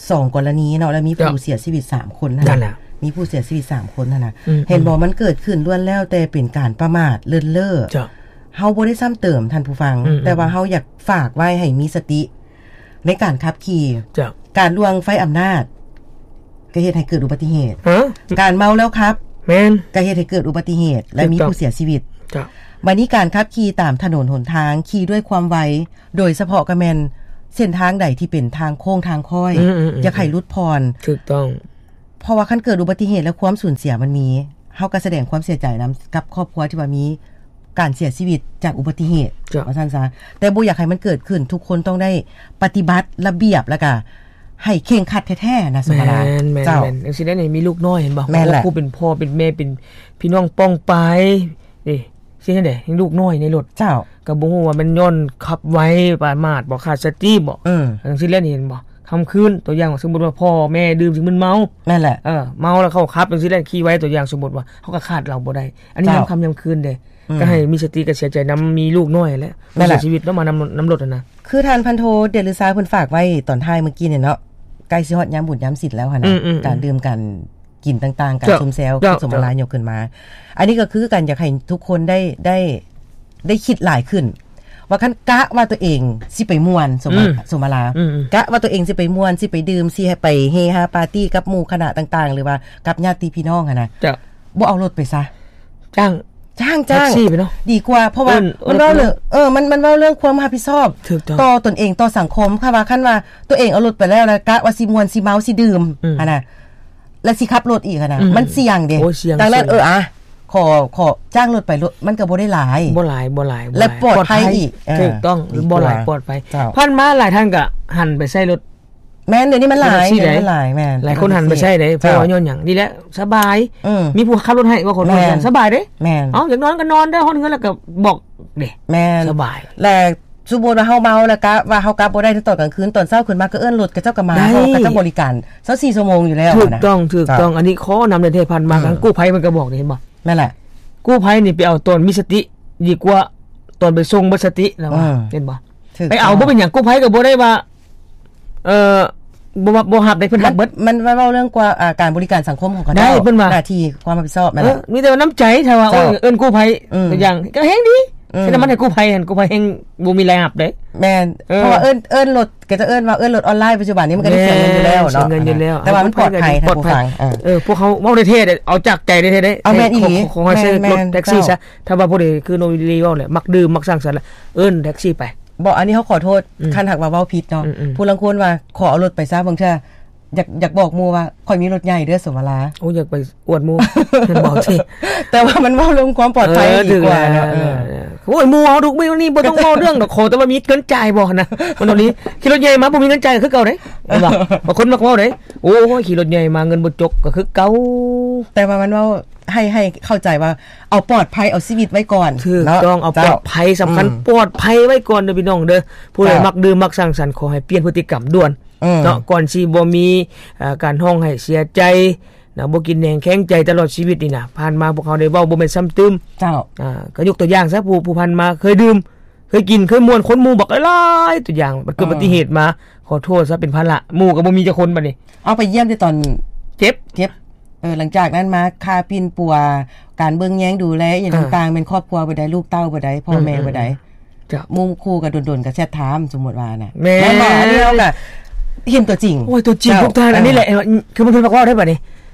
ສອງກໍລະນີເນາະ ແລ້ວມີຜູ້ ເຈົ້າ ເສຍຊີວິດສາມຄົນຫັ້ນ ນັ້ນແຫຼະ ມີຜູ້ເສຍຊີວິດສາມຄົນຫັ້ນນະ. ອືມ ເຫັນບໍ່ ອືມ ມັນເກີດຂຶ້ນລ້ວນແລ້ວແຕ່ເປັນການປະໝາດເລີນເລ່ອ. ເຈົ້າ ເຮົາບໍ່ໄດ້ຊ້ຳເຕີມທ່ານຜູ້ຟັງ ອືມ ແຕ່ວ່າເຮົາຢາກຝາກໄວ້ໃຫ້ມີສະຕິໃນການຂັບຂີ່. ເຈົ້າ ການລ່ວງໄຟອຳນາດ ກໍເຮັດໃຫ້ເກີດອຸບັດຕິເຫດ. ຮະ? ການເມົາແລ້ວຂັບ ແມ່ນ ກໍເຮັດໃຫ້ເກີດອຸບັດຕິເຫດ ແລະ ຖືກຕ້ອງ ມີຜູ້ເສຍຊີວິດ. ເຈົ້າ. ບັດນີ້ການຂັບຂີ່ຕາມຖະໜົນຫົນທາງ ຂີ່ດ້ວຍຄວາມໄວ ໂດຍສະເພາະກໍແມ່ນເສັ້ນທາງໃດທີ່ເປັນທາງໂຄ້ງທາງຄ້ອຍ ອືມໆໆ ຢາກໃຫ້ຫຼຸດຜ່ອນ. ຖືກຕ້ອງ. ເພາະວ່າຄັນເກີດອຸບັດຕິເຫດ ແລະ ຄວາມສູນເສຍມັນມີ ເຮົາກໍສະແດງຄວາມເສຍໃຈນຳກັບຄອບຄົວທີ່ວ່າມີການເສຍຊີວິດຈາກອຸບັດຕິເຫດ ເຈົ້າ ວ່າຊັ້ນຊະ ແຕ່ບໍ່ຢາກໃຫ້ມັນເກີດຂຶ້ນ. ທຸກຄົນຕ້ອງໄດ້ປະຕິບັດລະບຽບ ແລ້ວກໍໃຫ້ເຄັ່ງຄັດແທ້ໆນະ ສຸມາລາ. ແມ່ນໆໆ. ເຈົ້າ. ຈັ່ງຊີ້ແຫຼະນີ້ ມີລູກນ້ອຍເຫັນບໍ່? ແມ່ນແຫຼະ. ໂອ້ ຜູ້ເປັນພໍ່ເປັນແມ່ ເປັນພີ່ນ້ອງປ້ອງປາຍ ເດ້ ຊິເຮັດໃດ ຍັງລູກນ້ອຍໃນລົດ. ເຈົ້າ. ກໍບໍ່ຮູ້ວ່າແມ່ນຍ້ອນຂັບໄວປະໝາດບໍ່ ຂາດສະຕິບໍ່. ອືມ. ຈັ່ງຊີ້ແຫຼະນີ້ ເຫັນບໍ່? ຄ່ຳຄືນ ຕົວຢ່າງວ່າ ສົມມຸດວ່າພໍ່ແມ່ດື່ມຊິມຶນເມົາ. ແມ່ນແຫຼະ. ເອີ ເມົາແລ້ວເຂົາຂັບຈັ່ງຊີ້ແຫຼະ ຂີ່ໄວ ຕົວຢ່າງສົມມຸດວ່າ ເຮົາກໍຂາດເຫຼົ້າບໍ່ໄດ້. ອັນນີ້ ເຈົ້າ ຍາມຄ່ຳຍາມຄືນເດ້. ອືມ. ກໍໃຫ້ມີສະຕິ ກໍເສຍໃຈນຳ ມີລູກນ້ອຍແຫຼະ ແມ່ນແຫຼະ ເສຍຊີວິດເນາະ ມານຳ ນຳລົດຫັ້ນນະ. ຄືທ່ານພັນໂທ ເດດລືຊາ ເພິ່ນຝາກໄວ້ຕອນທ້າຍມື້ກີ້ນີ້ເນາະ ໃກ້ຊິຮອດຍາມບຸນຍາມສິນແລ້ວຫັ້ນນະ. ອືມໆໆ. ການດື່ມ ການ ກິນຕ່າງໆ ການ ເຈົ້າ ຊົມແຊວ ເຈົ້າ ສົມມະລາ ເຈົ້າ ຍົກຂຶ້ນມາ. ອັນນີ້ກໍຄືກັນ ຢາກໃຫ້ທຸກຄົນໄດ້ ໄດ້ ໄດ້ຄິດຫຼາຍຂຶ້ນ ວ່າຄັນກະວ່າຕົວເອງຊິໄປມ່ວນ ສົມ ອືມ ສົມມະລາ ອືມໆ ກະວ່າຕົວເອງຊິໄປມ່ວນ ຊິໄປດື່ມ ຊິໃຫ້ໄປເຮຮາປາຕີ້ກັບໝູ່ຄະນະຕ່າງໆ ຫຼືວ່າກັບຍາດຕິພີ່ນ້ອງຫັ້ນນະ ເຈົ້າ ບໍ່ເອົາລົດໄປຊະ ຈ້າງ ຈ້າງ ຈ້າງ ແທັກຊີໄປເນາະ ດີກວ່າ. ເພາະວ່າ ເອີ້ນ ມັນເວົ້າເລື່ອງ ເອີ ມັນ ມັນເວົ້າເລື່ອງຄວາມຮັບຜິດຊອບ ຖືກຕ້ອງ ຕໍ່ຕົນເອງ ຕໍ່ສັງຄົມ. ຄັນວ່າ ຄັນວ່າຕົວເອງເອົາລົດໄປແລ້ວ ແລ້ວກະວ່າຊິມ່ວນ ຊິເມົາ ຊິດື່ມ ອືມ ຫັ້ນນະ ແລ້ວຊິຂັບລົດອີກຫັ້ນນະ ອືມ ມັນສ່ຽງເດ້. ໂອ້ ສ່ຽງ ດັ່ງນັ້ນ ສ່ຽງ ເອີ ອະ ຂໍ ຂໍຈ້າງລົດໄປ ລົດມັນກໍບໍ່ໄດ້ຫຼາຍ ບໍ່ຫຼາຍ ບໍ່ຫຼາຍ ແລະ ບໍ່ຫຼາຍ ປອດໄພ ປອດໄພອີກ ເອີ ຖືກຕ້ອງ ບໍ່ຫຼາຍ ປອດໄພ. ເຈົ້າ. ຜ່ານມາຫຼາຍທ່ານກໍຫັນໄປໃຊ້ລົດ ແມ່ນ ດຽວນີ້ມັນຫຼາຍ ແທັກຊີ ດຽວນີ້ມັນຫຼາຍ ແມ່ນ ຫຼາຍຄົນຫັນໄປໃຊ້ເດ້ ເຈົ້າ ເພາະວ່າຍ້ອນຫຍັງ? ນີ້ແຫຼະ ສະບາຍ ອືມ ມີຜູ້ຂັບລົດໃຫ້ ວ່າຄົນ ແມ່ນ ສະບາຍເດ້ ແມ່ນ ເອົາ ຢາກນອນກໍນອນເດີ ຮອດເຮືອນແລ້ວກໍບອກເດ້ ແມ່ນ ສະບາຍ. ແລະ ສົມມຸດວ່າເຮົາເມົາແລ້ວກະວ່າເຮົາກັບບໍ່ໄດ້ໃນຕອນກາງຄືນ ຕອນເຊົ້າຂຶ້ນມາກໍເອີ້ນລົດ ເຂົາເຈົ້າກໍມາ ເຂົາເຈົ້າບໍລິການຊາວສີ່ຊົ່ວໂມງຢູ່ແລ້ວ. ຖືກຕ້ອງ ນະ ຖືກຕ້ອງ ເຈົ້າ ອັນນີ້ຂໍນຳແທ້ໆ ຜ່ານມາ ອືມ ທາງກູ້ໄພມັນກໍບອກນີ້ ເຫັນບໍ່? ແມ່ນແຫຼະ ກູ້ໄພນີ້ໄປເອົາຕອນມີສະຕິດີກວ່າຕອນໄປສົ່ງໝົດສະຕິ ລາວວ່າ ອືມ ເຫັນບໍ່? ໄປເອົາບໍ່ເປັນຫຍັງ ກູ້ໄພກໍບໍ່ໄດ້ວ່າ ເອີ ບໍ່ ບໍ່ຮັບໄດ້ ເພິ່ນຮັບເບິດ. ມັນ ມັນເວົ້າເລື່ອງກວ່າ ອ່າ ການບໍລິການສັງຄົມຂອງເຂົາເຈົ້າ ໄດ້ ເພິ່ນວ່າ ໜ້າທີ່ຄວາມຮັບຜິດຊອບ ແມ່ນແຫຼະ ເອີ ມີແຕ່ວ່ານ້ຳໃຈ ຖ້າວ່າ ເຈົ້າ ໂອ້ຍ ເອີ້ນກູ້ໄພ ອືມ ຢ່າງ ກໍແຮງດີ ອືມ ໃສ່ນ້ຳມັນໃຫ້ກູ້ໄພຫັ້ນ ກູ້ໄພແຮງບໍ່ມີລາຍຮັບເດ້. ແມ່ນ ເອີ ເພາະວ່າເອີ້ນ ເອີ້ນລົດ ກໍຈະເອີ້ນວ່າເອີ້ນລົດອອນລາຍ ປັດຈຸບັນນີ້ມັນກໍໄດ້ເສຍເງິນຢູ່ແລ້ວເນາະ ເສຍເງິນຢູ່ແລ້ວ ແຕ່ວ່າມັນປອດໄພ ທ່ານຜູ້ຟັງ ເອີ ເອີ ພວກເຮົາເວົ້າແທ້ໆ ເອົາຈາກໃຈແທ້ໆ ເດ້ ເອົາແມ່ນອີ່ຫຼີ ຂໍ ຂໍໃຫ້ໃຊ້ ແມ່ນ ລົດແທັກຊີຊະ ເຈົ້າ ຖ້າວ່າຜູ້ໃດຄືນ້ອງວິລລີເວົ້າແຫຼະ ມັກດື່ມມັກສັງສັນລະ ເອີ້ນແທັກຊີໄປ. ບໍ່ ອັນນີ້ເຮົາຂໍໂທດ ອືມ ຄັນຫາກວ່າເວົ້າຜິດເນາະ ອືມໆ ຜູ້ລາງຄົນວ່າ ຂໍເອົາລົດໄປຊະ ບາງເທື່ອ ຢາກ ຢາກບອກໝູ່ວ່າ ຂ້ອຍມີລົດໃຫຍ່ເດີ ສົມມະລາ ໂອ້ ຢາກໄປອວດໝູ່ ແມ່ນບໍ່? ແຕ່ວ່າມັນເວົ້າເລື່ອງຄວາມປອດໄພ ເອີ ດີກວ່າເນາະ ເອີ ເອີ ໂອ້ຍ ໝູ່ເຮົາທຸກມື້ນີ້ບໍ່ຕ້ອງເວົ້າເລື່ອງດອກ ຂໍແຕ່ວ່າມີເງິນຈ່າຍບໍ່ຫັ້ນນະ ມັນເທົ່ານີ້ ຂີ່ລົດໃຫຍ່ມາບໍ່ມີເງິນຈ່າຍກໍຄືເກົ່າເດ້ ເຫັນບໍ່? ບາງຄົນມັກເວົ້າເດ້ ໂອ້ຍ ຂີ່ລົດໃຫຍ່ມາເງິນບໍ່ຈົກກໍຄືເກົ່າ. ແຕ່ວ່າມັນເວົ້າ ໃຫ້ ໃຫ້ເຂົ້າໃຈວ່າ ເອົາປອດໄພ ເອົາຊີວິດໄວ້ກ່ອນ ຖືກຕ້ອງ ເນາະ ເອົາປອດໄພ ເຈົ້າ ສຳຄັນ ອືມ ປອດໄພໄວ້ກ່ອນເດີພີ່ນ້ອງເດີ. ຜູ້ໃດ ເຈົ້າ ມັກດື່ມມັກສັງສັນ ຂໍໃຫ້ປ່ຽນພຶດຕິກຳດ່ວນ ອືມ ເນາະ ກ່ອນຊິບໍ່ມີ ເອີ ການຮ້ອງໄຫ້ເສຍໃຈນະ ບໍ່ກິນແໜງແຂງໃຈຕະຫຼອດຊີວິດນີ້ນະ. ຜ່ານມາພວກເຮົາໄດ້ເວົ້າບໍ່ແມ່ນຊ້ຳຕື່ມ ເຈົ້າ ອາ ກໍຍົກຕົວຢ່າງຊະ ຜູ້ ຜູ້ຜ່ານມາເຄີຍດື່ມ ເຄີຍກິນ ເຄີຍມ່ວນ ຄົນໝູ່ບັກຫຼາຍໆ ຕົວຢ່າງ ບັດເກີດ ເອີ ອຸບັດຕິເຫດມາ ຂໍໂທດຊະ ເປັນພາລະ ໝູ່ກໍບໍ່ມີຈັກຄົນບັດນີ້ ເອົາໄປຢ້ຽມແຕ່ຕອນເຈັບ ເຈັບ ເອີ ຫຼັງຈາກນັ້ນມາຄ່າປິ່ນປົວ ການເບິ່ງແຍງດູແລອີ່ຫຍັງ ອ່າ ຕ່າງໆ ແມ່ນຄອບຄົວຜູ້ໃດ ລູກເຕົ້າຜູ້ໃດ ພໍ່ແມ່ ອືມ ຜູ້ໃດ ເຈົ້າ ໝູ່ຄູ່ກໍດົນໆ ກໍແຊັດຖາມ ສົມມຸດວ່ານະ ແມ່ນ ແມ່ນບໍ່? ອັນນີ້ເຮົາກໍເຫັນຕົວຈິງ ໂອ້ຍ ຕົວຈິງ ເຈົ້າ ພວກທ່ານ ເອີ ອັນນີ້ແຫຼະ ຄືມັນເພິ່ນມັກເວົ້າໄດ້ບັດນີ້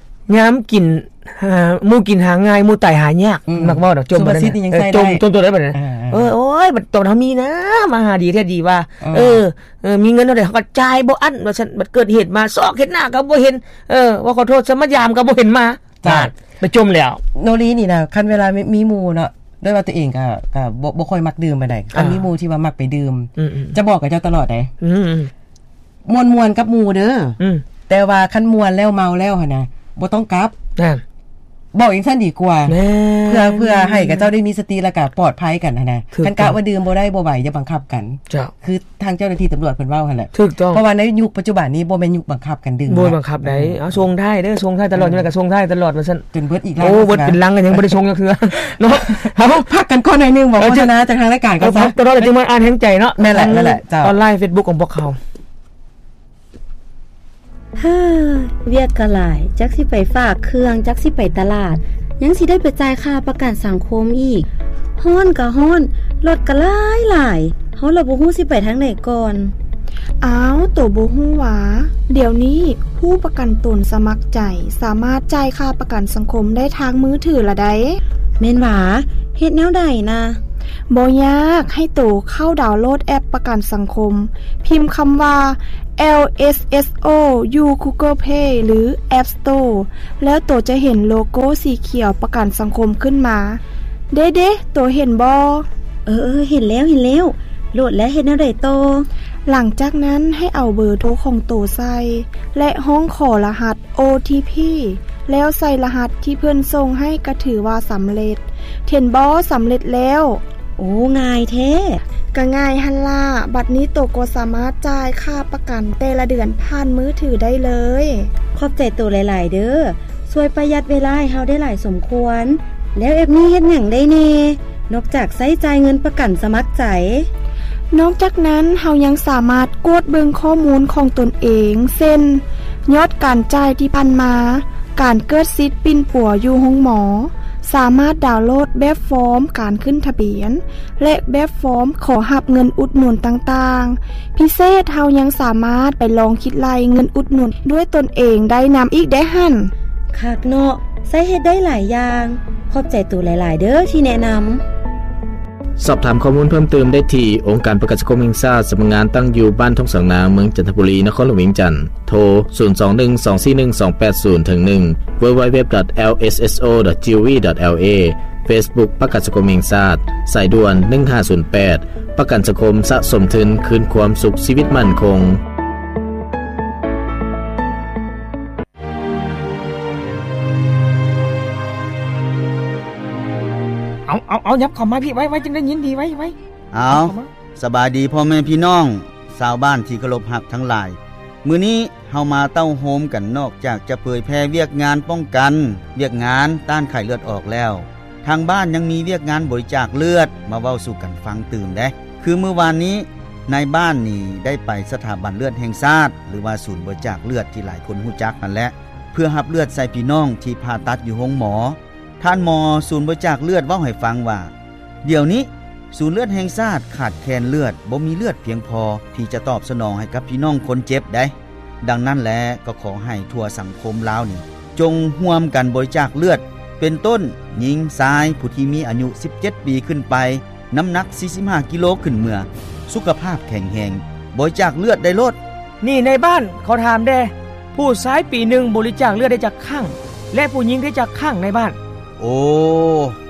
ຍາມກິນ ອ່າ ໝູ່ກິນຫາງ່າຍ ໝູ່ຕາຍຫາຍາກ ອືມ ມັກເວົ້າດອກ ຈົ່ມ ສຸພາສິດນີ້ຍັງໃຊ້ໄດ້ ຈົ່ມ ຈົ່ມຕົວໄດ້ບັດນີ້ ເອີ ເອີ ເອີ ໂອ້ຍ ບັດຕອນເຮົາມີນະ ມາຫາດີແທ້ດີວ່າ ເອີ ເອີ ເອີ ມີເງິນເທົ່າໃດເຮົາກໍຈ່າຍບໍ່ອັ້ນວ່າຊັ້ນ ບັດເກີດເຫດມາ ຊອກເຫັນໜ້າກໍບໍ່ເຫັນ ເອີ ວ່າຂໍໂທດຊະ ມາຢາມກໍບໍ່ເຫັນມາ ເຈົ້າ ນັ້ນ ໄປຈົ່ມແລ້ວ. ໂນລີນີ້ນະ ຄັນເວລາມີ ມີໝູ່ເນາະ ດ້ວຍວ່າຕົວເອງກໍ ກໍບໍ່ ບໍ່ຄ່ອຍມັກດື່ມປານໃດ ຄັນ ອ່າ ມີໝູ່ທີ່ວ່າມັກໄປດື່ມ ອືມໆ ຈະບອກກັບເຈົ້າຕະຫຼອດເດ້ ອືມ ມ່ວນໆ ກັບໝູ່ເດີ ອືມ ແຕ່ວ່າຄັນມ່ວນແລ້ວເມົາແລ້ວຫັ້ນນະ ບໍ່ຕ້ອງກັບ ນັ້ນ ບອກຈັ່ງຊັ້ນດີກວ່າ ແມ່ນ ເພື່ອ ເພື່ອໃຫ້ຂະເຈົ້າໄດ້ມີສະຕິ ແລ້ວກໍປອດໄພກັນຫັ້ນນະ ຖືກຕ້ອງ ຄັນກະວ່າດື່ມບໍ່ໄດ້ບໍ່ໄຫວ ຢ່າບັງຄັບກັນ ເຈົ້າ ຄືທາງເຈົ້າໜ້າທີ່ຕຳຫຼວດເພິ່ນເວົ້າຫັ້ນແຫຼະ ຖືກຕ້ອງ ເພາະວ່າໃນຍຸກປັດຈຸບັນນີ້ບໍ່ແມ່ນຍຸກບັງຄັບກັນດື່ມ ບໍ່ບັງຄັບໃດ ເອົາ ສົ່ງທ້າຍເດີ ສົ່ງທ້າຍຕະຫຼອດ ເອີ ນີ້ແຫຼະ ກໍສົ່ງທ້າຍຕະຫຼອດວ່າຊັ້ນ ຈົນເບິດອີກລັງ ໂອ້ ເບິດເປັນລັງກໍຍັງບໍ່ໄດ້ສົ່ງຈັກເທື່ອເນາະ ເຮົາພັກກັນກ່ອນໜ້ອຍໜຶ່ງ ບອກ ເອີ ໂຄສະນາຈາກທາງລາຍການ ເອີ ພັກຕະຫຼອດ ຈຶ່ງມາອ່ານແຮງໃຈເນາະ ແມ່ນແຫຼະ ທາງ ແມ່ນແຫຼະ ເຈົ້າ ອອນລາຍ ເຟສບຸກ ຂອງພວກເຮົາ. ເຮີ້ ວຽກກໍຫຼາຍ ຈັກຊິໄປຝາກເຄື່ອງ ຈັກຊິໄປຕະຫຼາດ ຍັງຊິໄດ້ໄປຈ່າຍຄ່າປະກັນສັງຄົມອີກ ຮ້ອນກໍຮ້ອນ ລົດກໍຫຼາຍໆ ເຮົາລະບໍ່ຮູ້ຊິໄປທາງໃດກ່ອນ. ອ້າວ ໂຕບໍ່ຮູ້ຫວາ? ດຽວນີ້ຜູ້ປະກັນຕົນສະໝັກໃຈສາມາດຈ່າຍຄ່າປະກັນສັງຄົມໄດ້ທາງມືຖືລະໃດ໋. ແມ່ນຫວາ? ເຮັດແນວໃດນະ? ບໍ່ຍາກ, ໃຫ້ໂຕເຂົ້າດາວໂຫຼດແອັບປະກັນສັງຄົມ, ພິມຄຳວ່າ ແອລ ເອສ ເອສ ໂອ ຢູ່ Google Play ຫຼື App Store ແລ້ວໂຕຈະເຫັນໂລໂກ້ສີຂຽວປະກັນສັງຄົມຂຶ້ນມາ. ເດ້ໆ ໂຕເຫັນບໍ່? ເອີໆ ເຫັນແລ້ວ ເຫັນແລ້ວ. ໂຫຼດແລ້ວເຮັດແນວໃດຕໍ່? ຫຼັງຈາກນັ້ນໃຫ້ເອົາເບີໂທຂອງໂຕໃສ່ ແລະ ຮ້ອງຂໍລະຫັດ ໂອ ທີ ພີ ແລ້ວໃສ່ລະຫັດທີ່ເພິ່ນສົ່ງໃຫ້ກໍຖືວ່າສຳເລັດ. ເຫັນບໍ່? ສຳເລັດແລ້ວ. ໂອ້ ງ່າຍແທ້. ກະງ່າຍຫັ້ນລະ. ບັດນີ້ໂຕກໍສາມາດຈ່າຍຄ່າປະກັນແຕ່ລະເດືອນຜ່ານມືຖືໄດ້ເລີຍ. ຂອບໃຈໂຕຫຼາຍໆເດີ້. ຊ່ວຍປະຢັດເວລາໃຫ້ເຮົາໄດ້ຫຼາຍສົມຄວນ. ແລ້ວແອັບນີ້ເຮັດຫຍັງໄດ້ແດ່ ນອກຈາກໃຊ້ຈ່າຍເງິນປະກັນສະໝັກໃຈ? ນອກຈາກນັ້ນ, ເຮົາຍັງສາມາດກວດເບິ່ງຂໍ້ມູນຂອງຕົນເອງ, ເຊັ່ນ ຍອດການຈ່າຍທີ່ຜ່ານມາ, ການເກີດສິດປິ່ນປົວຢູ່ໂຮງໝໍ, ສາມາດດາວໂຫຼດແບບຟອມການຂຶ້ນທະບຽນ ແລະ ແບບຟອມຂໍຮັບເງິນອຸດໜູນຕ່າງໆ. ພິເສດ, ເຮົາຍັງສາມາດໄປລອງຄິດໄລ່ເງິນອຸດໜູນດ້ວຍຕົນເອງໄດ້ນຳອີກເດ້ຫັ້ນ. ຄັກເນາະ, ໃຊ້ເຮັດໄດ້ຫຼາຍຢ່າງ. ຂອບໃຈໂຕຫຼາຍໆເດີ້ທີ່ແນະນຳ. ສອບຖາມຂໍ້ມູນເພີ່ມເຕີມໄດ້ທີ່ ອົງການປະກັນສັງຄົມແຫ່ງຊາດ, ສຳນັກງານຕັ້ງຢູ່ບ້ານທົ່ງສາງນາງ, ເມືອງຈັນທະບູລີ, ນະຄອນຫຼວງວຽງຈັນ. ໂທ ສູນສອງໜຶ່ງ ສອງສີ່ໜຶ່ງ ສອງແປດສູນ ເຖິງໜຶ່ງ www.lsso.gov.la. Facebook ປະກັນສັງຄົມແຫ່ງຊາດ, ສາຍດ່ວນ ໜຶ່ງຫ້າສູນແປດ. ປະກັນສັງຄົມສະສົມທຶນຄືນຄວາມສຸກຊີວິດໝັ້ນຄົງ. ເອົາ ເອົາ ເອົາ ຫຍັບເຂົ້າມາພີ້ ໄວໆ ຈຶ່ງໄດ້ຍິນດີ ໄວໆ. ເອົາ ສະບາຍດີພໍ່ແມ່ພີ່ນ້ອງຊາວບ້ານທີ່ເຄົາລົບຮັກທັງຫຼາຍ. ມື້ນີ້ເຮົາມາເຕົ້າໂຮມກັນ, ນອກຈາກຈະເຜີຍແຜ່ວຽກງານປ້ອງກັນ, ວຽກງານຕ້ານໄຂ້ເລືອດອອກແລ້ວ, ທາງບ້ານຍັງມີວຽກງານບໍລິຈາກເລືອດມາເວົ້າສູ່ກັນຟັງຕື່ມເດ້. ຄືມື້ວານນີ້ ນາຍບ້ານນີ້ໄດ້ໄປສະຖາບັນເລືອດແຫ່ງຊາດ ຫຼືວ່າສູນບໍລິຈາກເລືອດທີ່ຫຼາຍຄົນຮູ້ຈັກຫັ້ນແຫຼະ ເພື່ອຮັບເລືອດໃສ່ພີ່ນ້ອງທີ່ຜ່າຕັດຢູ່ໂຮງໝໍ. ທ່ານໝໍສູນບໍລິຈາກເລືອດເວົ້າໃຫ້ຟັງວ່າ ດຽວນີ້ສູນເລືອດແຫ່ງຊາດຂາດແຄນເລືອດ, ບໍ່ມີເລືອດພຽງພໍທີ່ຈະຕອບສະໜອງໃຫ້ກັບພີ່ນ້ອງຄົນເຈັບໄດ໋. ດັ່ງນັ້ນແຫຼະ ກໍຂໍໃຫ້ທົ່ວສັງຄົມລາວນີ້ ຈົ່ງຮ່ວມກັນບໍລິຈາກເລືອດ ເປັນຕົ້ນ ຍິງ, ຊາຍ, ຜູ້ທີ່ມີອາຍຸສິບເຈັດປີຂຶ້ນໄປ, ນ້ຳໜັກສີ່ສິບຫ້າກິໂລຂຶ້ນເມືອ, ສຸຂະພາບແຂງແຮງ, ບໍລິຈາກເລືອດໄດ້ໂລດ. ນີ້ນາຍບ້ານ ຂໍຖາມແດ່, ຜູ້ຊາຍປີໜຶ່ງບໍລິຈາກເລືອດໄດ້ຈັກຄັ້ງ ແລະ ຜູ້ຍິງໄດ້ຈັກຄັ້ງນາຍບ້ານ? ໂອ້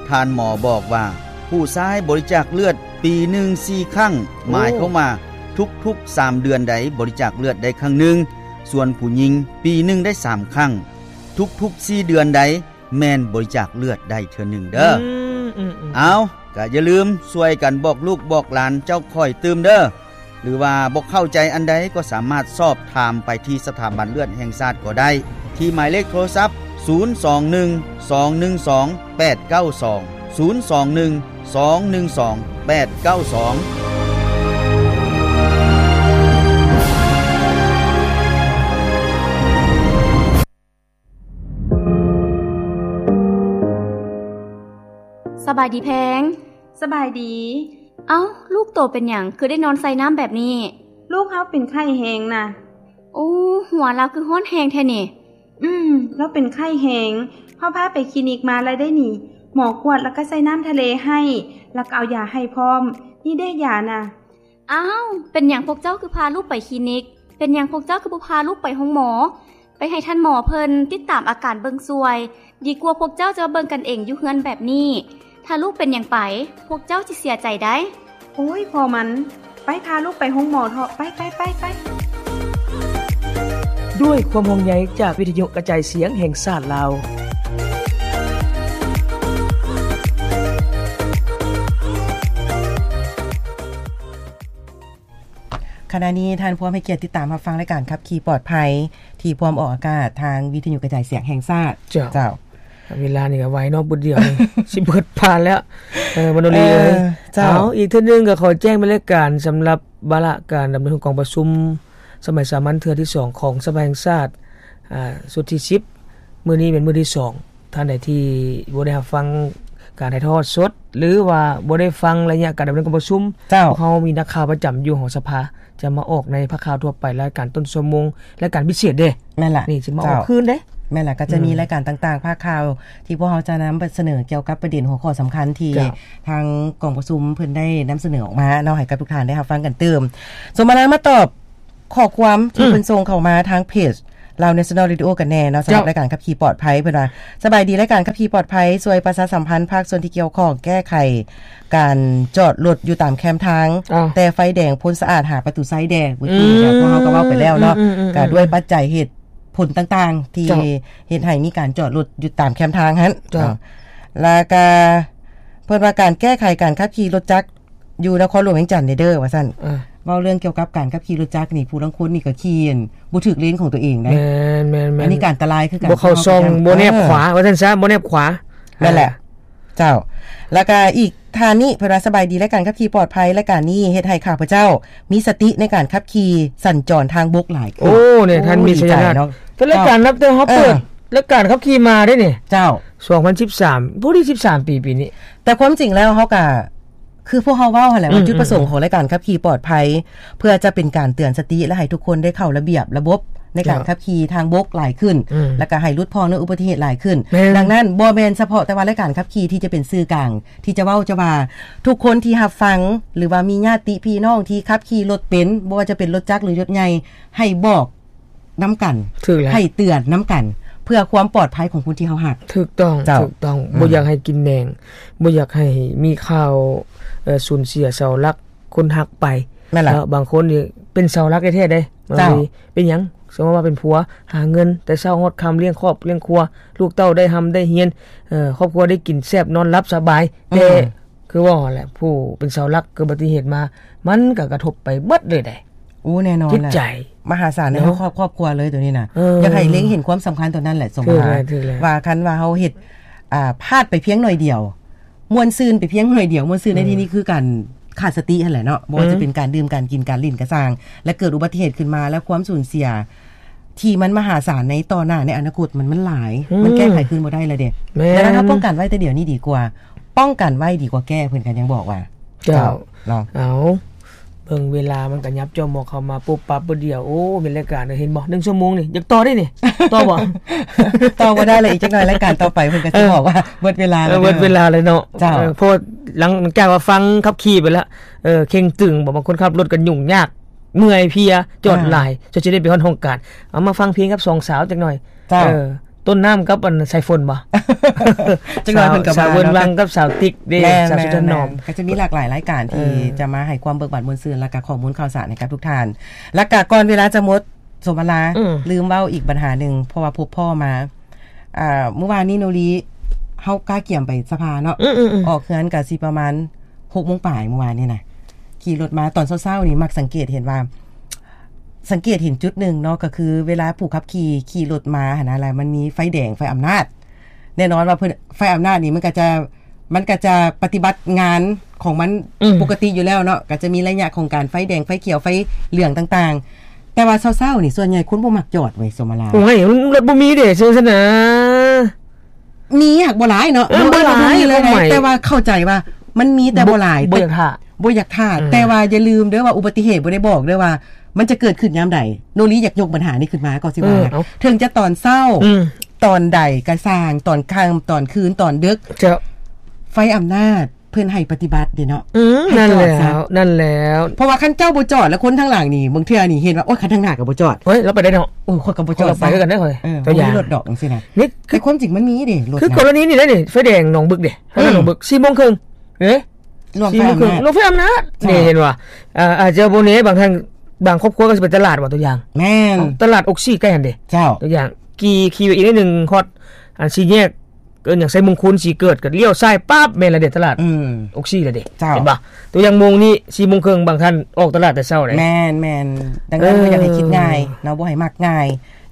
ທ່ານໝໍບອກວ່າ ຜູ້ຊາຍບໍລິຈາກເລືອດປີໜຶ່ງສີ່ຄັ້ງ, ໂອ້ ໝາຍຄວາມວ່າທຸກໆສາມເດືອນໃດບໍລິຈາກເລືອດໄດ້ຄັ້ງໜຶ່ງ, ສ່ວນຜູ້ຍິງປີໜຶ່ງໄດ້ສາມຄັ້ງ, ທຸກໆສີ່ເດືອນໃດ ແມ່ນບໍລິຈາກເລືອດໄດ້ເທື່ອໜຶ່ງເດີ້. ອືມ ອືມ ອືມ. ເອົາ ກະຢ່າລືມຊ່ວຍກັນບອກລູກບອກຫຼານເຈົ້າຂ້ອຍຕື່ມເດີ້. ຫຼືວ່າບໍ່ເຂົ້າໃຈອັນໃດກໍສາມາດສອບຖາມໄປທີ່ສະຖາບັນເລືອດແຫ່ງຊາດກໍໄດ້ ທີ່ໝາຍເລກໂທລະສັບ ສູນສອງໜຶ່ງ ສອງໜຶ່ງສອງ ແປດເກົ້າສອງ ສູນສອງໜຶ່ງ ສອງໜຶ່ງສອງ ແປດເກົ້າສອງ. ສະບາຍດີແພງ. ສະບາຍດີ. ເອົ້າ, ລູກໂຕເປັນຫຍັງ ຄືໄດ້ນອນໃສ່ນ້ຳແບບນີ້? ລູກເຮົາເປັນໄຂ້ແຮງນະ. ໂອ້, ຫົວລາວຄືຮ້ອນແຮງແທ້ນີ້. ອືມ, ລາວເປັນໄຂ້ແຮງ. ເຮົາພາໄປຄລີນິກມາແລ້ວເດ້ນີ້. ໝໍກວດແລ້ວກໍໃສ່ນ້ຳທະເລໃຫ້, ແລ້ວກໍເອົາຢາໃຫ້ພ້ອມ. ນີ້ເດ້ຢານະ. ອ້າວ, ເປັນຫຍັງພວກເຈົ້າຄືພາລູກໄປຄລີນິກ? ເປັນຫຍັງພວກເຈົ້າຄືບໍ່ພາລູກໄປໂຮງໝໍ? ໄປໃຫ້ທ່ານໝໍເພິ່ນຕິດຕາມອາການເບິ່ງຊ່ວຍ, ດີກວ່າພວກເຈົ້າຈະມາເບິ່ງກັນເອງຢູ່ເຮືອນແບບນີ້. ຖ້າລູກເປັນຫຍັງໄປ, ພວກເຈົ້າຊິເສຍໃຈໄດ໋. ໂອ້ຍ, ພໍມັນ. ໄປ, ພາລູກໄປໂຮງໝໍເຖາະ. ໄປ, ໄປ, ໄປ, ໄປ. ດ້ວຍຄວາມຫ່ວງໃຍຈາກວິທະຍຸກະຈາຍສຽງແຫ່ງຊາດລາວ. ຂະນະນີ້ທ່ານພວມໃຫ້ກຽດຕິດຕາມຮັບຟັງລາຍການຂັບຂີ່ປອດໄພ ທີ່ພວມອອກອາກາດທາງວິທະຍຸກະຈາຍສຽງແຫ່ງຊາດ. ເຈົ້າ. ເຈົ້າ. ເວລານີ້ກໍໄວເນາະ, ບຸດດຽວນີ້ ຊິເບິດຜ່ານແລ້ວ. ເອີ, ມະໂນລີເອີຍ. ເຈົ້າ. ເອົາ, ອີກເທື່ອໜຶ່ງກໍຂໍແຈ້ງບັນຍາການສຳລັບວາລະການດຳເນີນຂອງກອງປະຊຸມສະໄໝສາມັນເທື່ອທີສອງຂອງສະພາແຫ່ງຊາດ, ອາ, ຊຸດທີສິບ. ມື້ນີ້ເປັນມື້ທີສອງ. ທ່ານໃດທີ່ບໍ່ໄດ້ຮັບຟັງ ການຖ່າຍທອດສົດ ຫຼືວ່າບໍ່ໄດ້ຟັງໄລຍະການດຳເນີນກອງປະຊຸມ ເຈົ້າ ພວກເຮົາມີນັກຂ່າວປະຈຳຢູ່ຫໍສະພາ ຈະມາອອກໃນພາກຂ່າວທົ່ວໄປ ລາຍການຕົ້ນຊົ່ວໂມງ ລາຍການພິເສດເດ້. ແມ່ນລະ ນີ້ຊິມາອອກ ເຈົ້າ ຄືນເດ້. ແມ່ນລະ ກໍຈະມີ ອືມ ລາຍການຕ່າງໆ ພາກຂ່າວ ທີ່ພວກເຮົາຈະນຳສະເໜີກ່ຽວກັບປະເດັນຫົວຂໍ້ສຳຄັນທີ່ ເຈົ້າ ທາງກອງປະຊຸມເພິ່ນໄດ້ນຳສະເໜີອອກມາເນາະ ໃຫ້ກັບທຸກທ່ານໄດ້ຮັບຟັງກັນຕື່ມ. ສົມມະລາມາຕອບ ຂໍ້ຄວາມທີ່ ອືມ ເພິ່ນສົ່ງເຂົ້າມາທາງເພຈ ລາວ National Radio ກັນແນ່ເນາະ ສຳລັບ ເຈົ້າ ລາຍການຂັບຂີ່ປອດໄພ. ເພິ່ນວ່າ ສະບາຍດີ ລາຍການຂັບຂີ່ປອດໄພ ຊ່ວຍປະຊາສຳພັນພາກສ່ວນທີ່ກ່ຽວຂ້ອງ ແກ້ໄຂການຈອດລົດຢູ່ຕາມແຄມທາງ ເຈົ້າ ແຕ່ໄຟແດງພົ້ນສະອາດຫາປະຕູໄຊແດ່. ເມື່ອກີ້ ອືມ ພວກເຮົາກໍເວົ້າໄປແລ້ວເນາະ ອືມໆໆໆ ກໍດ້ວຍປັດໄຈເຫດຜົນຕ່າງໆ ທີ່ ເຈົ້າ ເຮັດໃຫ້ມີການຈອດລົດຢູ່ຕາມແຄມທາງຫັ້ນ ເຈົ້າ ເນາະ. ແລ້ວກໍເພິ່ນວ່າ ການແກ້ໄຂການຂັບຂີ່ລົດຈັກ ຢູ່ນະຄອນຫຼວງວຽງຈັນນີ້ເດີ ວ່າຊັ້ນ. ເອີ ເວົ້າເລື່ອງກ່ຽວກັບການຂັບຂີ່ລົດຈັກນີ້ ຜູ້ລາງຄົນນີ້ກໍຂີ່ ອັນ ບໍ່ຖືກເລນຂອງຕົວເອງໄດ໋. ແມ່ນໆໆ ອັນນີ້ການອັນຕະລາຍຄືກັນ ບໍ່ເຂົ້າຊ່ອງ ເພາະວ່າ ບໍ່ແນບຂວາ ເຮົາກໍຍັງ ວ່າຊັ້ນຊະ ບໍ່ແນບຂວາ. ແມ່ນແຫຼະ ອ່າ ເຈົ້າ. ແລ້ວກໍອີກທ່ານນີ້ ເພິ່ນວ່າ ສະບາຍດີ ລາຍການຂັບຂີ່ປອດໄພ ລາຍການນີ້ເຮັດໃຫ້ຂ້າພະເຈົ້າມີສະຕິໃນການຂັບຂີ່ສັນຈອນທາງບົກຫຼາຍຂຶ້ນ. ໂອ້ ນີ້ທ່ານມີໄຊຍະນາດ ໂອ້ ດີໃຈເນາະ ແຕ່ລາຍການ ເຈົ້າ ນັບແຕ່ເຮົາເປີດ ເອີ ລາຍການຂັບຂີ່ມາເດ້ນີ້ ເຈົ້າ ສອງພັນສິບສາມ ພໍດີສິບສາມປີ ປີນີ້. ແຕ່ຄວາມຈິງແລ້ວເຮົາກໍ ຄືພວກເຮົາເວົ້າຫັ້ນແຫຼະວ່າ ອືມໆໆ ຈຸດປະສົງຂອງລາຍການຂັບຂີ່ປອດໄພ ເພື່ອຈະເປັນການເຕືອນສະຕິ ແລະ ໃຫ້ທຸກຄົນໄດ້ເຂົ້າລະບຽບລະບົບໃນການ ເຈົ້າ ຂັບຂີ່ທາງບົກຫຼາຍຂຶ້ນ ອືມ ແລ້ວກໍໃຫ້ຫຼຸດຜ່ອນເລື່ອງອຸບັດຕິເຫດຫຼາຍຂຶ້ນ. ແມ່ນ ດັ່ງນັ້ນ ບໍ່ແມ່ນສະເພາະແຕ່ວ່າລາຍການຂັບຂີ່ທີ່ຈະເປັນສື່ກາງ ທີ່ຈະເວົ້າຈະວ່າ ທຸກຄົນທີ່ຮັບຟັງ ຫຼືວ່າມີຍາດຕິພີ່ນ້ອງທີ່ຂັບຂີ່ລົດເປັນ ບໍ່ວ່າຈະເປັນລົດຈັກ ຫຼື ລົດໃຫຍ່ ໃຫ້ບອກ ນຳກັນ ຖືກແລ້ວ ໃຫ້ເຕືອນນຳກັນ ເພື່ອຄວາມປອດໄພຂອງຄົນທີ່ເຮົາຮັກ. ຖືກຕ້ອງ ເຈົ້າ ຖືກຕ້ອງ ອືມ ບໍ່ຢາກໃຫ້ກິນແໜງ ບໍ່ຢາກໃຫ້ມີຂ່າວ ເອີ ສູນເສຍເສົາຫຼັກຄົນຮັກໄປ. ແມ່ນລະ ເອີ ບາງຄົນນີ້ເປັນເສົາຫຼັກແທ້ໆເດ້. ເຈົ້າ ເປັນຫຍັງ? ສົມມຸດວ່າເປັນຜົວ ຫາເງິນແຕ່ເຊົ້າຮອດຄ່ຳ ລ້ຽງຄອບລ້ຽງຄົວ ລູກເຕົ້າໄດ້ຮ່ຳໄດ້ຮຽນ ເອີ ຄອບຄົວໄດ້ກິນແຊບນອນຫຼັບສະບາຍ ອືມ ແຕ່ ຄືເວົ້າຫັ້ນແຫຼະ ຜູ້ເປັນເສົາຫຼັກເກີດອຸບັດຕິເຫດມາ ມັນກໍກະທົບໄປເບິດເລີຍເດ້. ໂອ້ ແນ່ນອນແຫຼະ ຈິດໃຈ ມະຫາສານໃນ ເນາະ ຄອບ ຄອບຄົວເລີຍໂຕນີ້ນະ. ເອີ ຢາກໃຫ້ເລັງເຫັນຄວາມສຳຄັນໂຕນັ້ນແຫຼະ ສົມມຸດວ່າ ຖືກແລ້ວ ຖືກແລ້ວ ວ່າຄັນວ່າເຮົາເຮັດ ອ່າ ພາດໄປພຽງໜ້ອຍດຽວ ມ່ວນຊື່ນໄປພຽງໜ້ອຍດຽວ ມ່ວນຊື່ນໃນ ອືມ ທີ່ນີ້ຄືການຂາດສະຕິຫັ້ນແຫຼະເນາະ ບໍ່ວ່າ ອືມ ຈະເປັນການດື່ມ ການກິນ ການຫຼິ້ນກໍຊ່າງ ແລະ ເກີດອຸບັດຕິເຫດຂຶ້ນມາ ແລ້ວຄວາມສູນເສຍ ທີ່ມັນມະຫາສານໃນຕໍ່ໜ້າໃນອະນາຄົດ ມັນ ມັນຫຼາຍ ອືມ ມັນແກ້ໄຂຄືນບໍ່ໄດ້ແລ້ວເດ້. ແມ່ນ ດັ່ງນັ້ນ ເຮົາປ້ອງກັນໄວ້ແຕ່ດຽວນີ້ດີກວ່າ ປ້ອງກັນໄວ້ດີກວ່າແກ້ ເພິ່ນກໍຍັງບອກວ່າ. ເຈົ້າ ເຈົ້າ ເນາະ ເອົາ ເບິ່ງເວລາມັນກໍຫຍັບຈ້ອມມອກເຂົ້າມາປຸບປັບບຶດດຽວ. ໂອ້ ແມ່ນລາຍການເດີ ເຫັນບໍ່ ໜຶ່ງຊົ່ວໂມງນີ້ ຢາກຕໍ່ໄດ້ນີ້ ຕໍ່ບໍ່? ຕໍ່ບໍ່ໄດ້ແລ້ວ ອີກຈັກໜ້ອຍລາຍການຕໍ່ໄປ ເພິ່ນກໍຊິ ເອີ ບອກວ່າເບິດເວລາແລ້ວ ເອີ ເດີ ເບິດເວລາແລ້ວເນາະ. ເຈົ້າ ເອີ ເພາະວ່າຫຼັງຈາກວ່າຟັງຂັບຂີ່ໄປແລ້ວ ເອີ ເຄັ່ງຕຶງ ບາງຄົນຂັບລົດກໍຫຍຸ້ງຍາກ ເມື່ອຍເພຍ ຈອດຫຼາຍ ອ່າ ຈະ ຈະໄດ້ໄປຮອດຫ້ອງການ. ເອົາມາຟັງເພງກັບສອງສາວຈັກໜ້ອຍ. ເຈົ້າ ເອີ ຕົ້ນນ້ຳກັບອັນສາຍຝົນບໍ່? ຈັກໜ້ອຍເພິ່ນກໍ ສາວ ສາວເວີນວັງກັບສາວຕິກເດ້ ແມ່ນ ສາວສຸດຖະໜອມ ແມ່ນ ກໍຈະມີຫຼາກຫຼາຍລາຍການທີ່ ເອີ ຈະມາໃຫ້ຄວາມເບີກບານມ່ວນຊື່ນ ແລ້ວກໍຂໍ້ມູນຂ່າວສານໃຫ້ກັບທຸກທ່ານ. ແລ້ວກໍກ່ອນເວລາຈະໝົດ ສົມມະລາ ອືມ ລືມເວົ້າອີກບັນຫາໜຶ່ງ ເພາະວ່າພົບພໍ້ມາ ອ່າ ມື້ວານນີ້ໂນລີ ເຮົາກະກຽມໄປສະພາເນາະ ອືມໆໆ ອອກເຮືອນກະຊິປະມານຫົກໂມງປາຍມື້ວານນີ້ນະ ຂີ່ລົດມາຕອນເຊົ້າໆນີ້ ມັກສັງເກດເຫັນວ່າ ສັງເກດເຫັນຈຸດໜຶ່ງເນາະ ກໍຄືເວລາຜູ້ຂັບຂີ່ຂີ່ລົດມາຫັ້ນນະ ແລ້ວມັນມີໄຟແດງ ໄຟອຳນາດ ແນ່ນອນວ່າເພິ່ນ ໄຟອຳນາດນີ້ມັນກໍຈະ ມັນກໍຈະປະຕິບັດງານຂອງມັນ ອືມ ປົກກະຕິຢູ່ແລ້ວເນາະ ກໍຈະມີໄລຍະຂອງການໄຟແດງ ໄຟຂຽວ ໄຟເຫຼືອງຕ່າງໆ ແຕ່ວ່າເຊົ້າໆນີ້ ສ່ວນໃຫຍ່ຄົນບໍ່ມັກຈອດເວີຍ ສົມມະລາ. ໂອ້ຍ ມັນລົດບໍ່ມີເດ້ ເຊິ່ງຊັ້ນນະ ມີຫາກບໍ່ຫຼາຍເນາະ ເອີ ບໍ່ຫຼາຍ ບໍ່ມີເລີຍ ຄວາມໝາຍ ແຕ່ວ່າເຂົ້າໃຈວ່າມັນມີແຕ່ບໍ່ຫຼາຍ ບໍ່ ບໍ່ຢາກຖ້າ ບໍ່ຢາກຖ້າ ອືມ ແຕ່ວ່າຢ່າລືມເດີວ່າອຸບັດຕິເຫດບໍ່ໄດ້ບອກເດີວ່າມັນຈະເກີດຂຶ້ນຍາມໃດ. ໂນລີຢາກຍົກບັນຫານີ້ຂຶ້ນມາກໍຊິວ່າ ເອີ ເອົາ ເຖິງຈະຕອນເຊົ້າ ອືມ ຕອນໃດກໍຊ່າງ ຕອນຄ່ຳ ຕອນຄືນ ຕອນເດິກ ເຈົ້າ ໄຟອຳນາດ ເພິ່ນໃຫ້ປະຕິບັດເດ້ເນາະ ອືມ ໃຫ້ຈອດຊະ ນັ້ນແລ້ວ ນັ້ນແລ້ວ ເພາະວ່າຄັນເຈົ້າບໍ່ຈອດ ແລ້ວຄົນທາງຫຼັງນີ້ ບາງເທື່ອນີ້ເຫັນວ່າ ໂອ້ຍ ຄັນທາງໜ້າກໍບໍ່ຈອດ ໂອ້ຍ ລາວໄປໄດ້ເນາະ ໂອ້ຍ ຂ້ອຍກໍບໍ່ຈອດ ຂ້ອຍໄປຄືກັນເດ້ ເອີ ຕົວຢ່າງ ບໍ່ມີລົດດອກຈັ່ງຊີ້ນະ ນີ້ ແຕ່ຄວາມຈິງມັນມີເດ້ ລົດ ຄື ນະ ກໍລະນີນີ້ເດ້ນີ້ ໄຟແດງໜອງບຶກເດ້ ອືມ ໜອງບຶກ ສີ່ໂມງເຄິ່ງເດ້ ຫຼວງ ສີ່ໂມງເຄິ່ງ ໄຟອຳນາດ ຫຼວງໄຟອຳນາດ ເຈົ້າ ນີ້ເຫັນບໍ່ ອ່າ ອາດຈະບໍ່ແນ່ ບາງທ່ານ ບາງຄອບຄົວກໍຊິໄປຕະຫຼາດວ່າ ຕົວຢ່າງ ແມ່ນ ຕະຫຼາດອົກຊີໃກ້ຫັ້ນເດ້ ເຈົ້າ ຕົວຢ່າງ ຂີ່ ຂີ່ໄປອີກໜ້ອຍໜຶ່ງ ຮອດ ອັນ ສີ່ແຍກ ເອີ້ນຫຍັງ ໄຊມຸງຄຸນ ສີເກີດ ກໍລ້ຽວຊ້າຍປັບ ແມ່ນລະເດ້ ຕະຫຼາດ ອືມ ອົກຊີລະເດ້ ເຈົ້າ ເຫັນບໍ່ ຕົວຢ່າງໂມງນີ້ ສີ່ໂມງເຄິ່ງ ບາງທ່ານອອກຕະຫຼາດແຕ່ເຊົ້າເດ້ ແມ່ນໆ ດັ່ງນັ້ນ ເອີ ກໍຢາກໃຫ້ຄິດງ່າຍເນາະ ບໍ່ໃຫ້ມັກງ່າຍ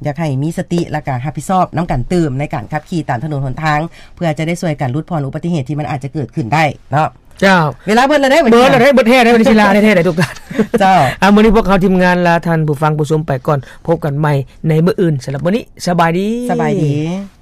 ຢາກໃຫ້ມີສະຕິ ແລ້ວກໍຮັບຜິດຊອບນຳກັນຕື່ມ ໃນການຂັບຂີ່ຕາມຖະໜົນຫົນທາງ ເພື່ອຈະໄດ້ຊ່ວຍກັນຫຼຸດຜ່ອນອຸບັດຕິເຫດທີ່ມັນອາດຈະເກີດຂຶ້ນໄດ້ເນາະ. ເຈົ້າ ເວລາເບິດແລ້ວເດ້ ເບິດແລ້ວເດ້ ເບິດແທ້ແລ້ວ ເວລາແທ້ໆ ທຸກທ່ານ ເຈົ້າ ອ່າ ມື້ນີ້ພວກເຮົາທີມງານລາທ່ານຜູ້ຟັງຜູ້ຊົມໄປກ່ອນ ພົບກັນໃໝ່ໃນມື້ອື່ນ ສຳລັບມື້ນີ້ ສະບາຍດີ ສະບາຍດີ.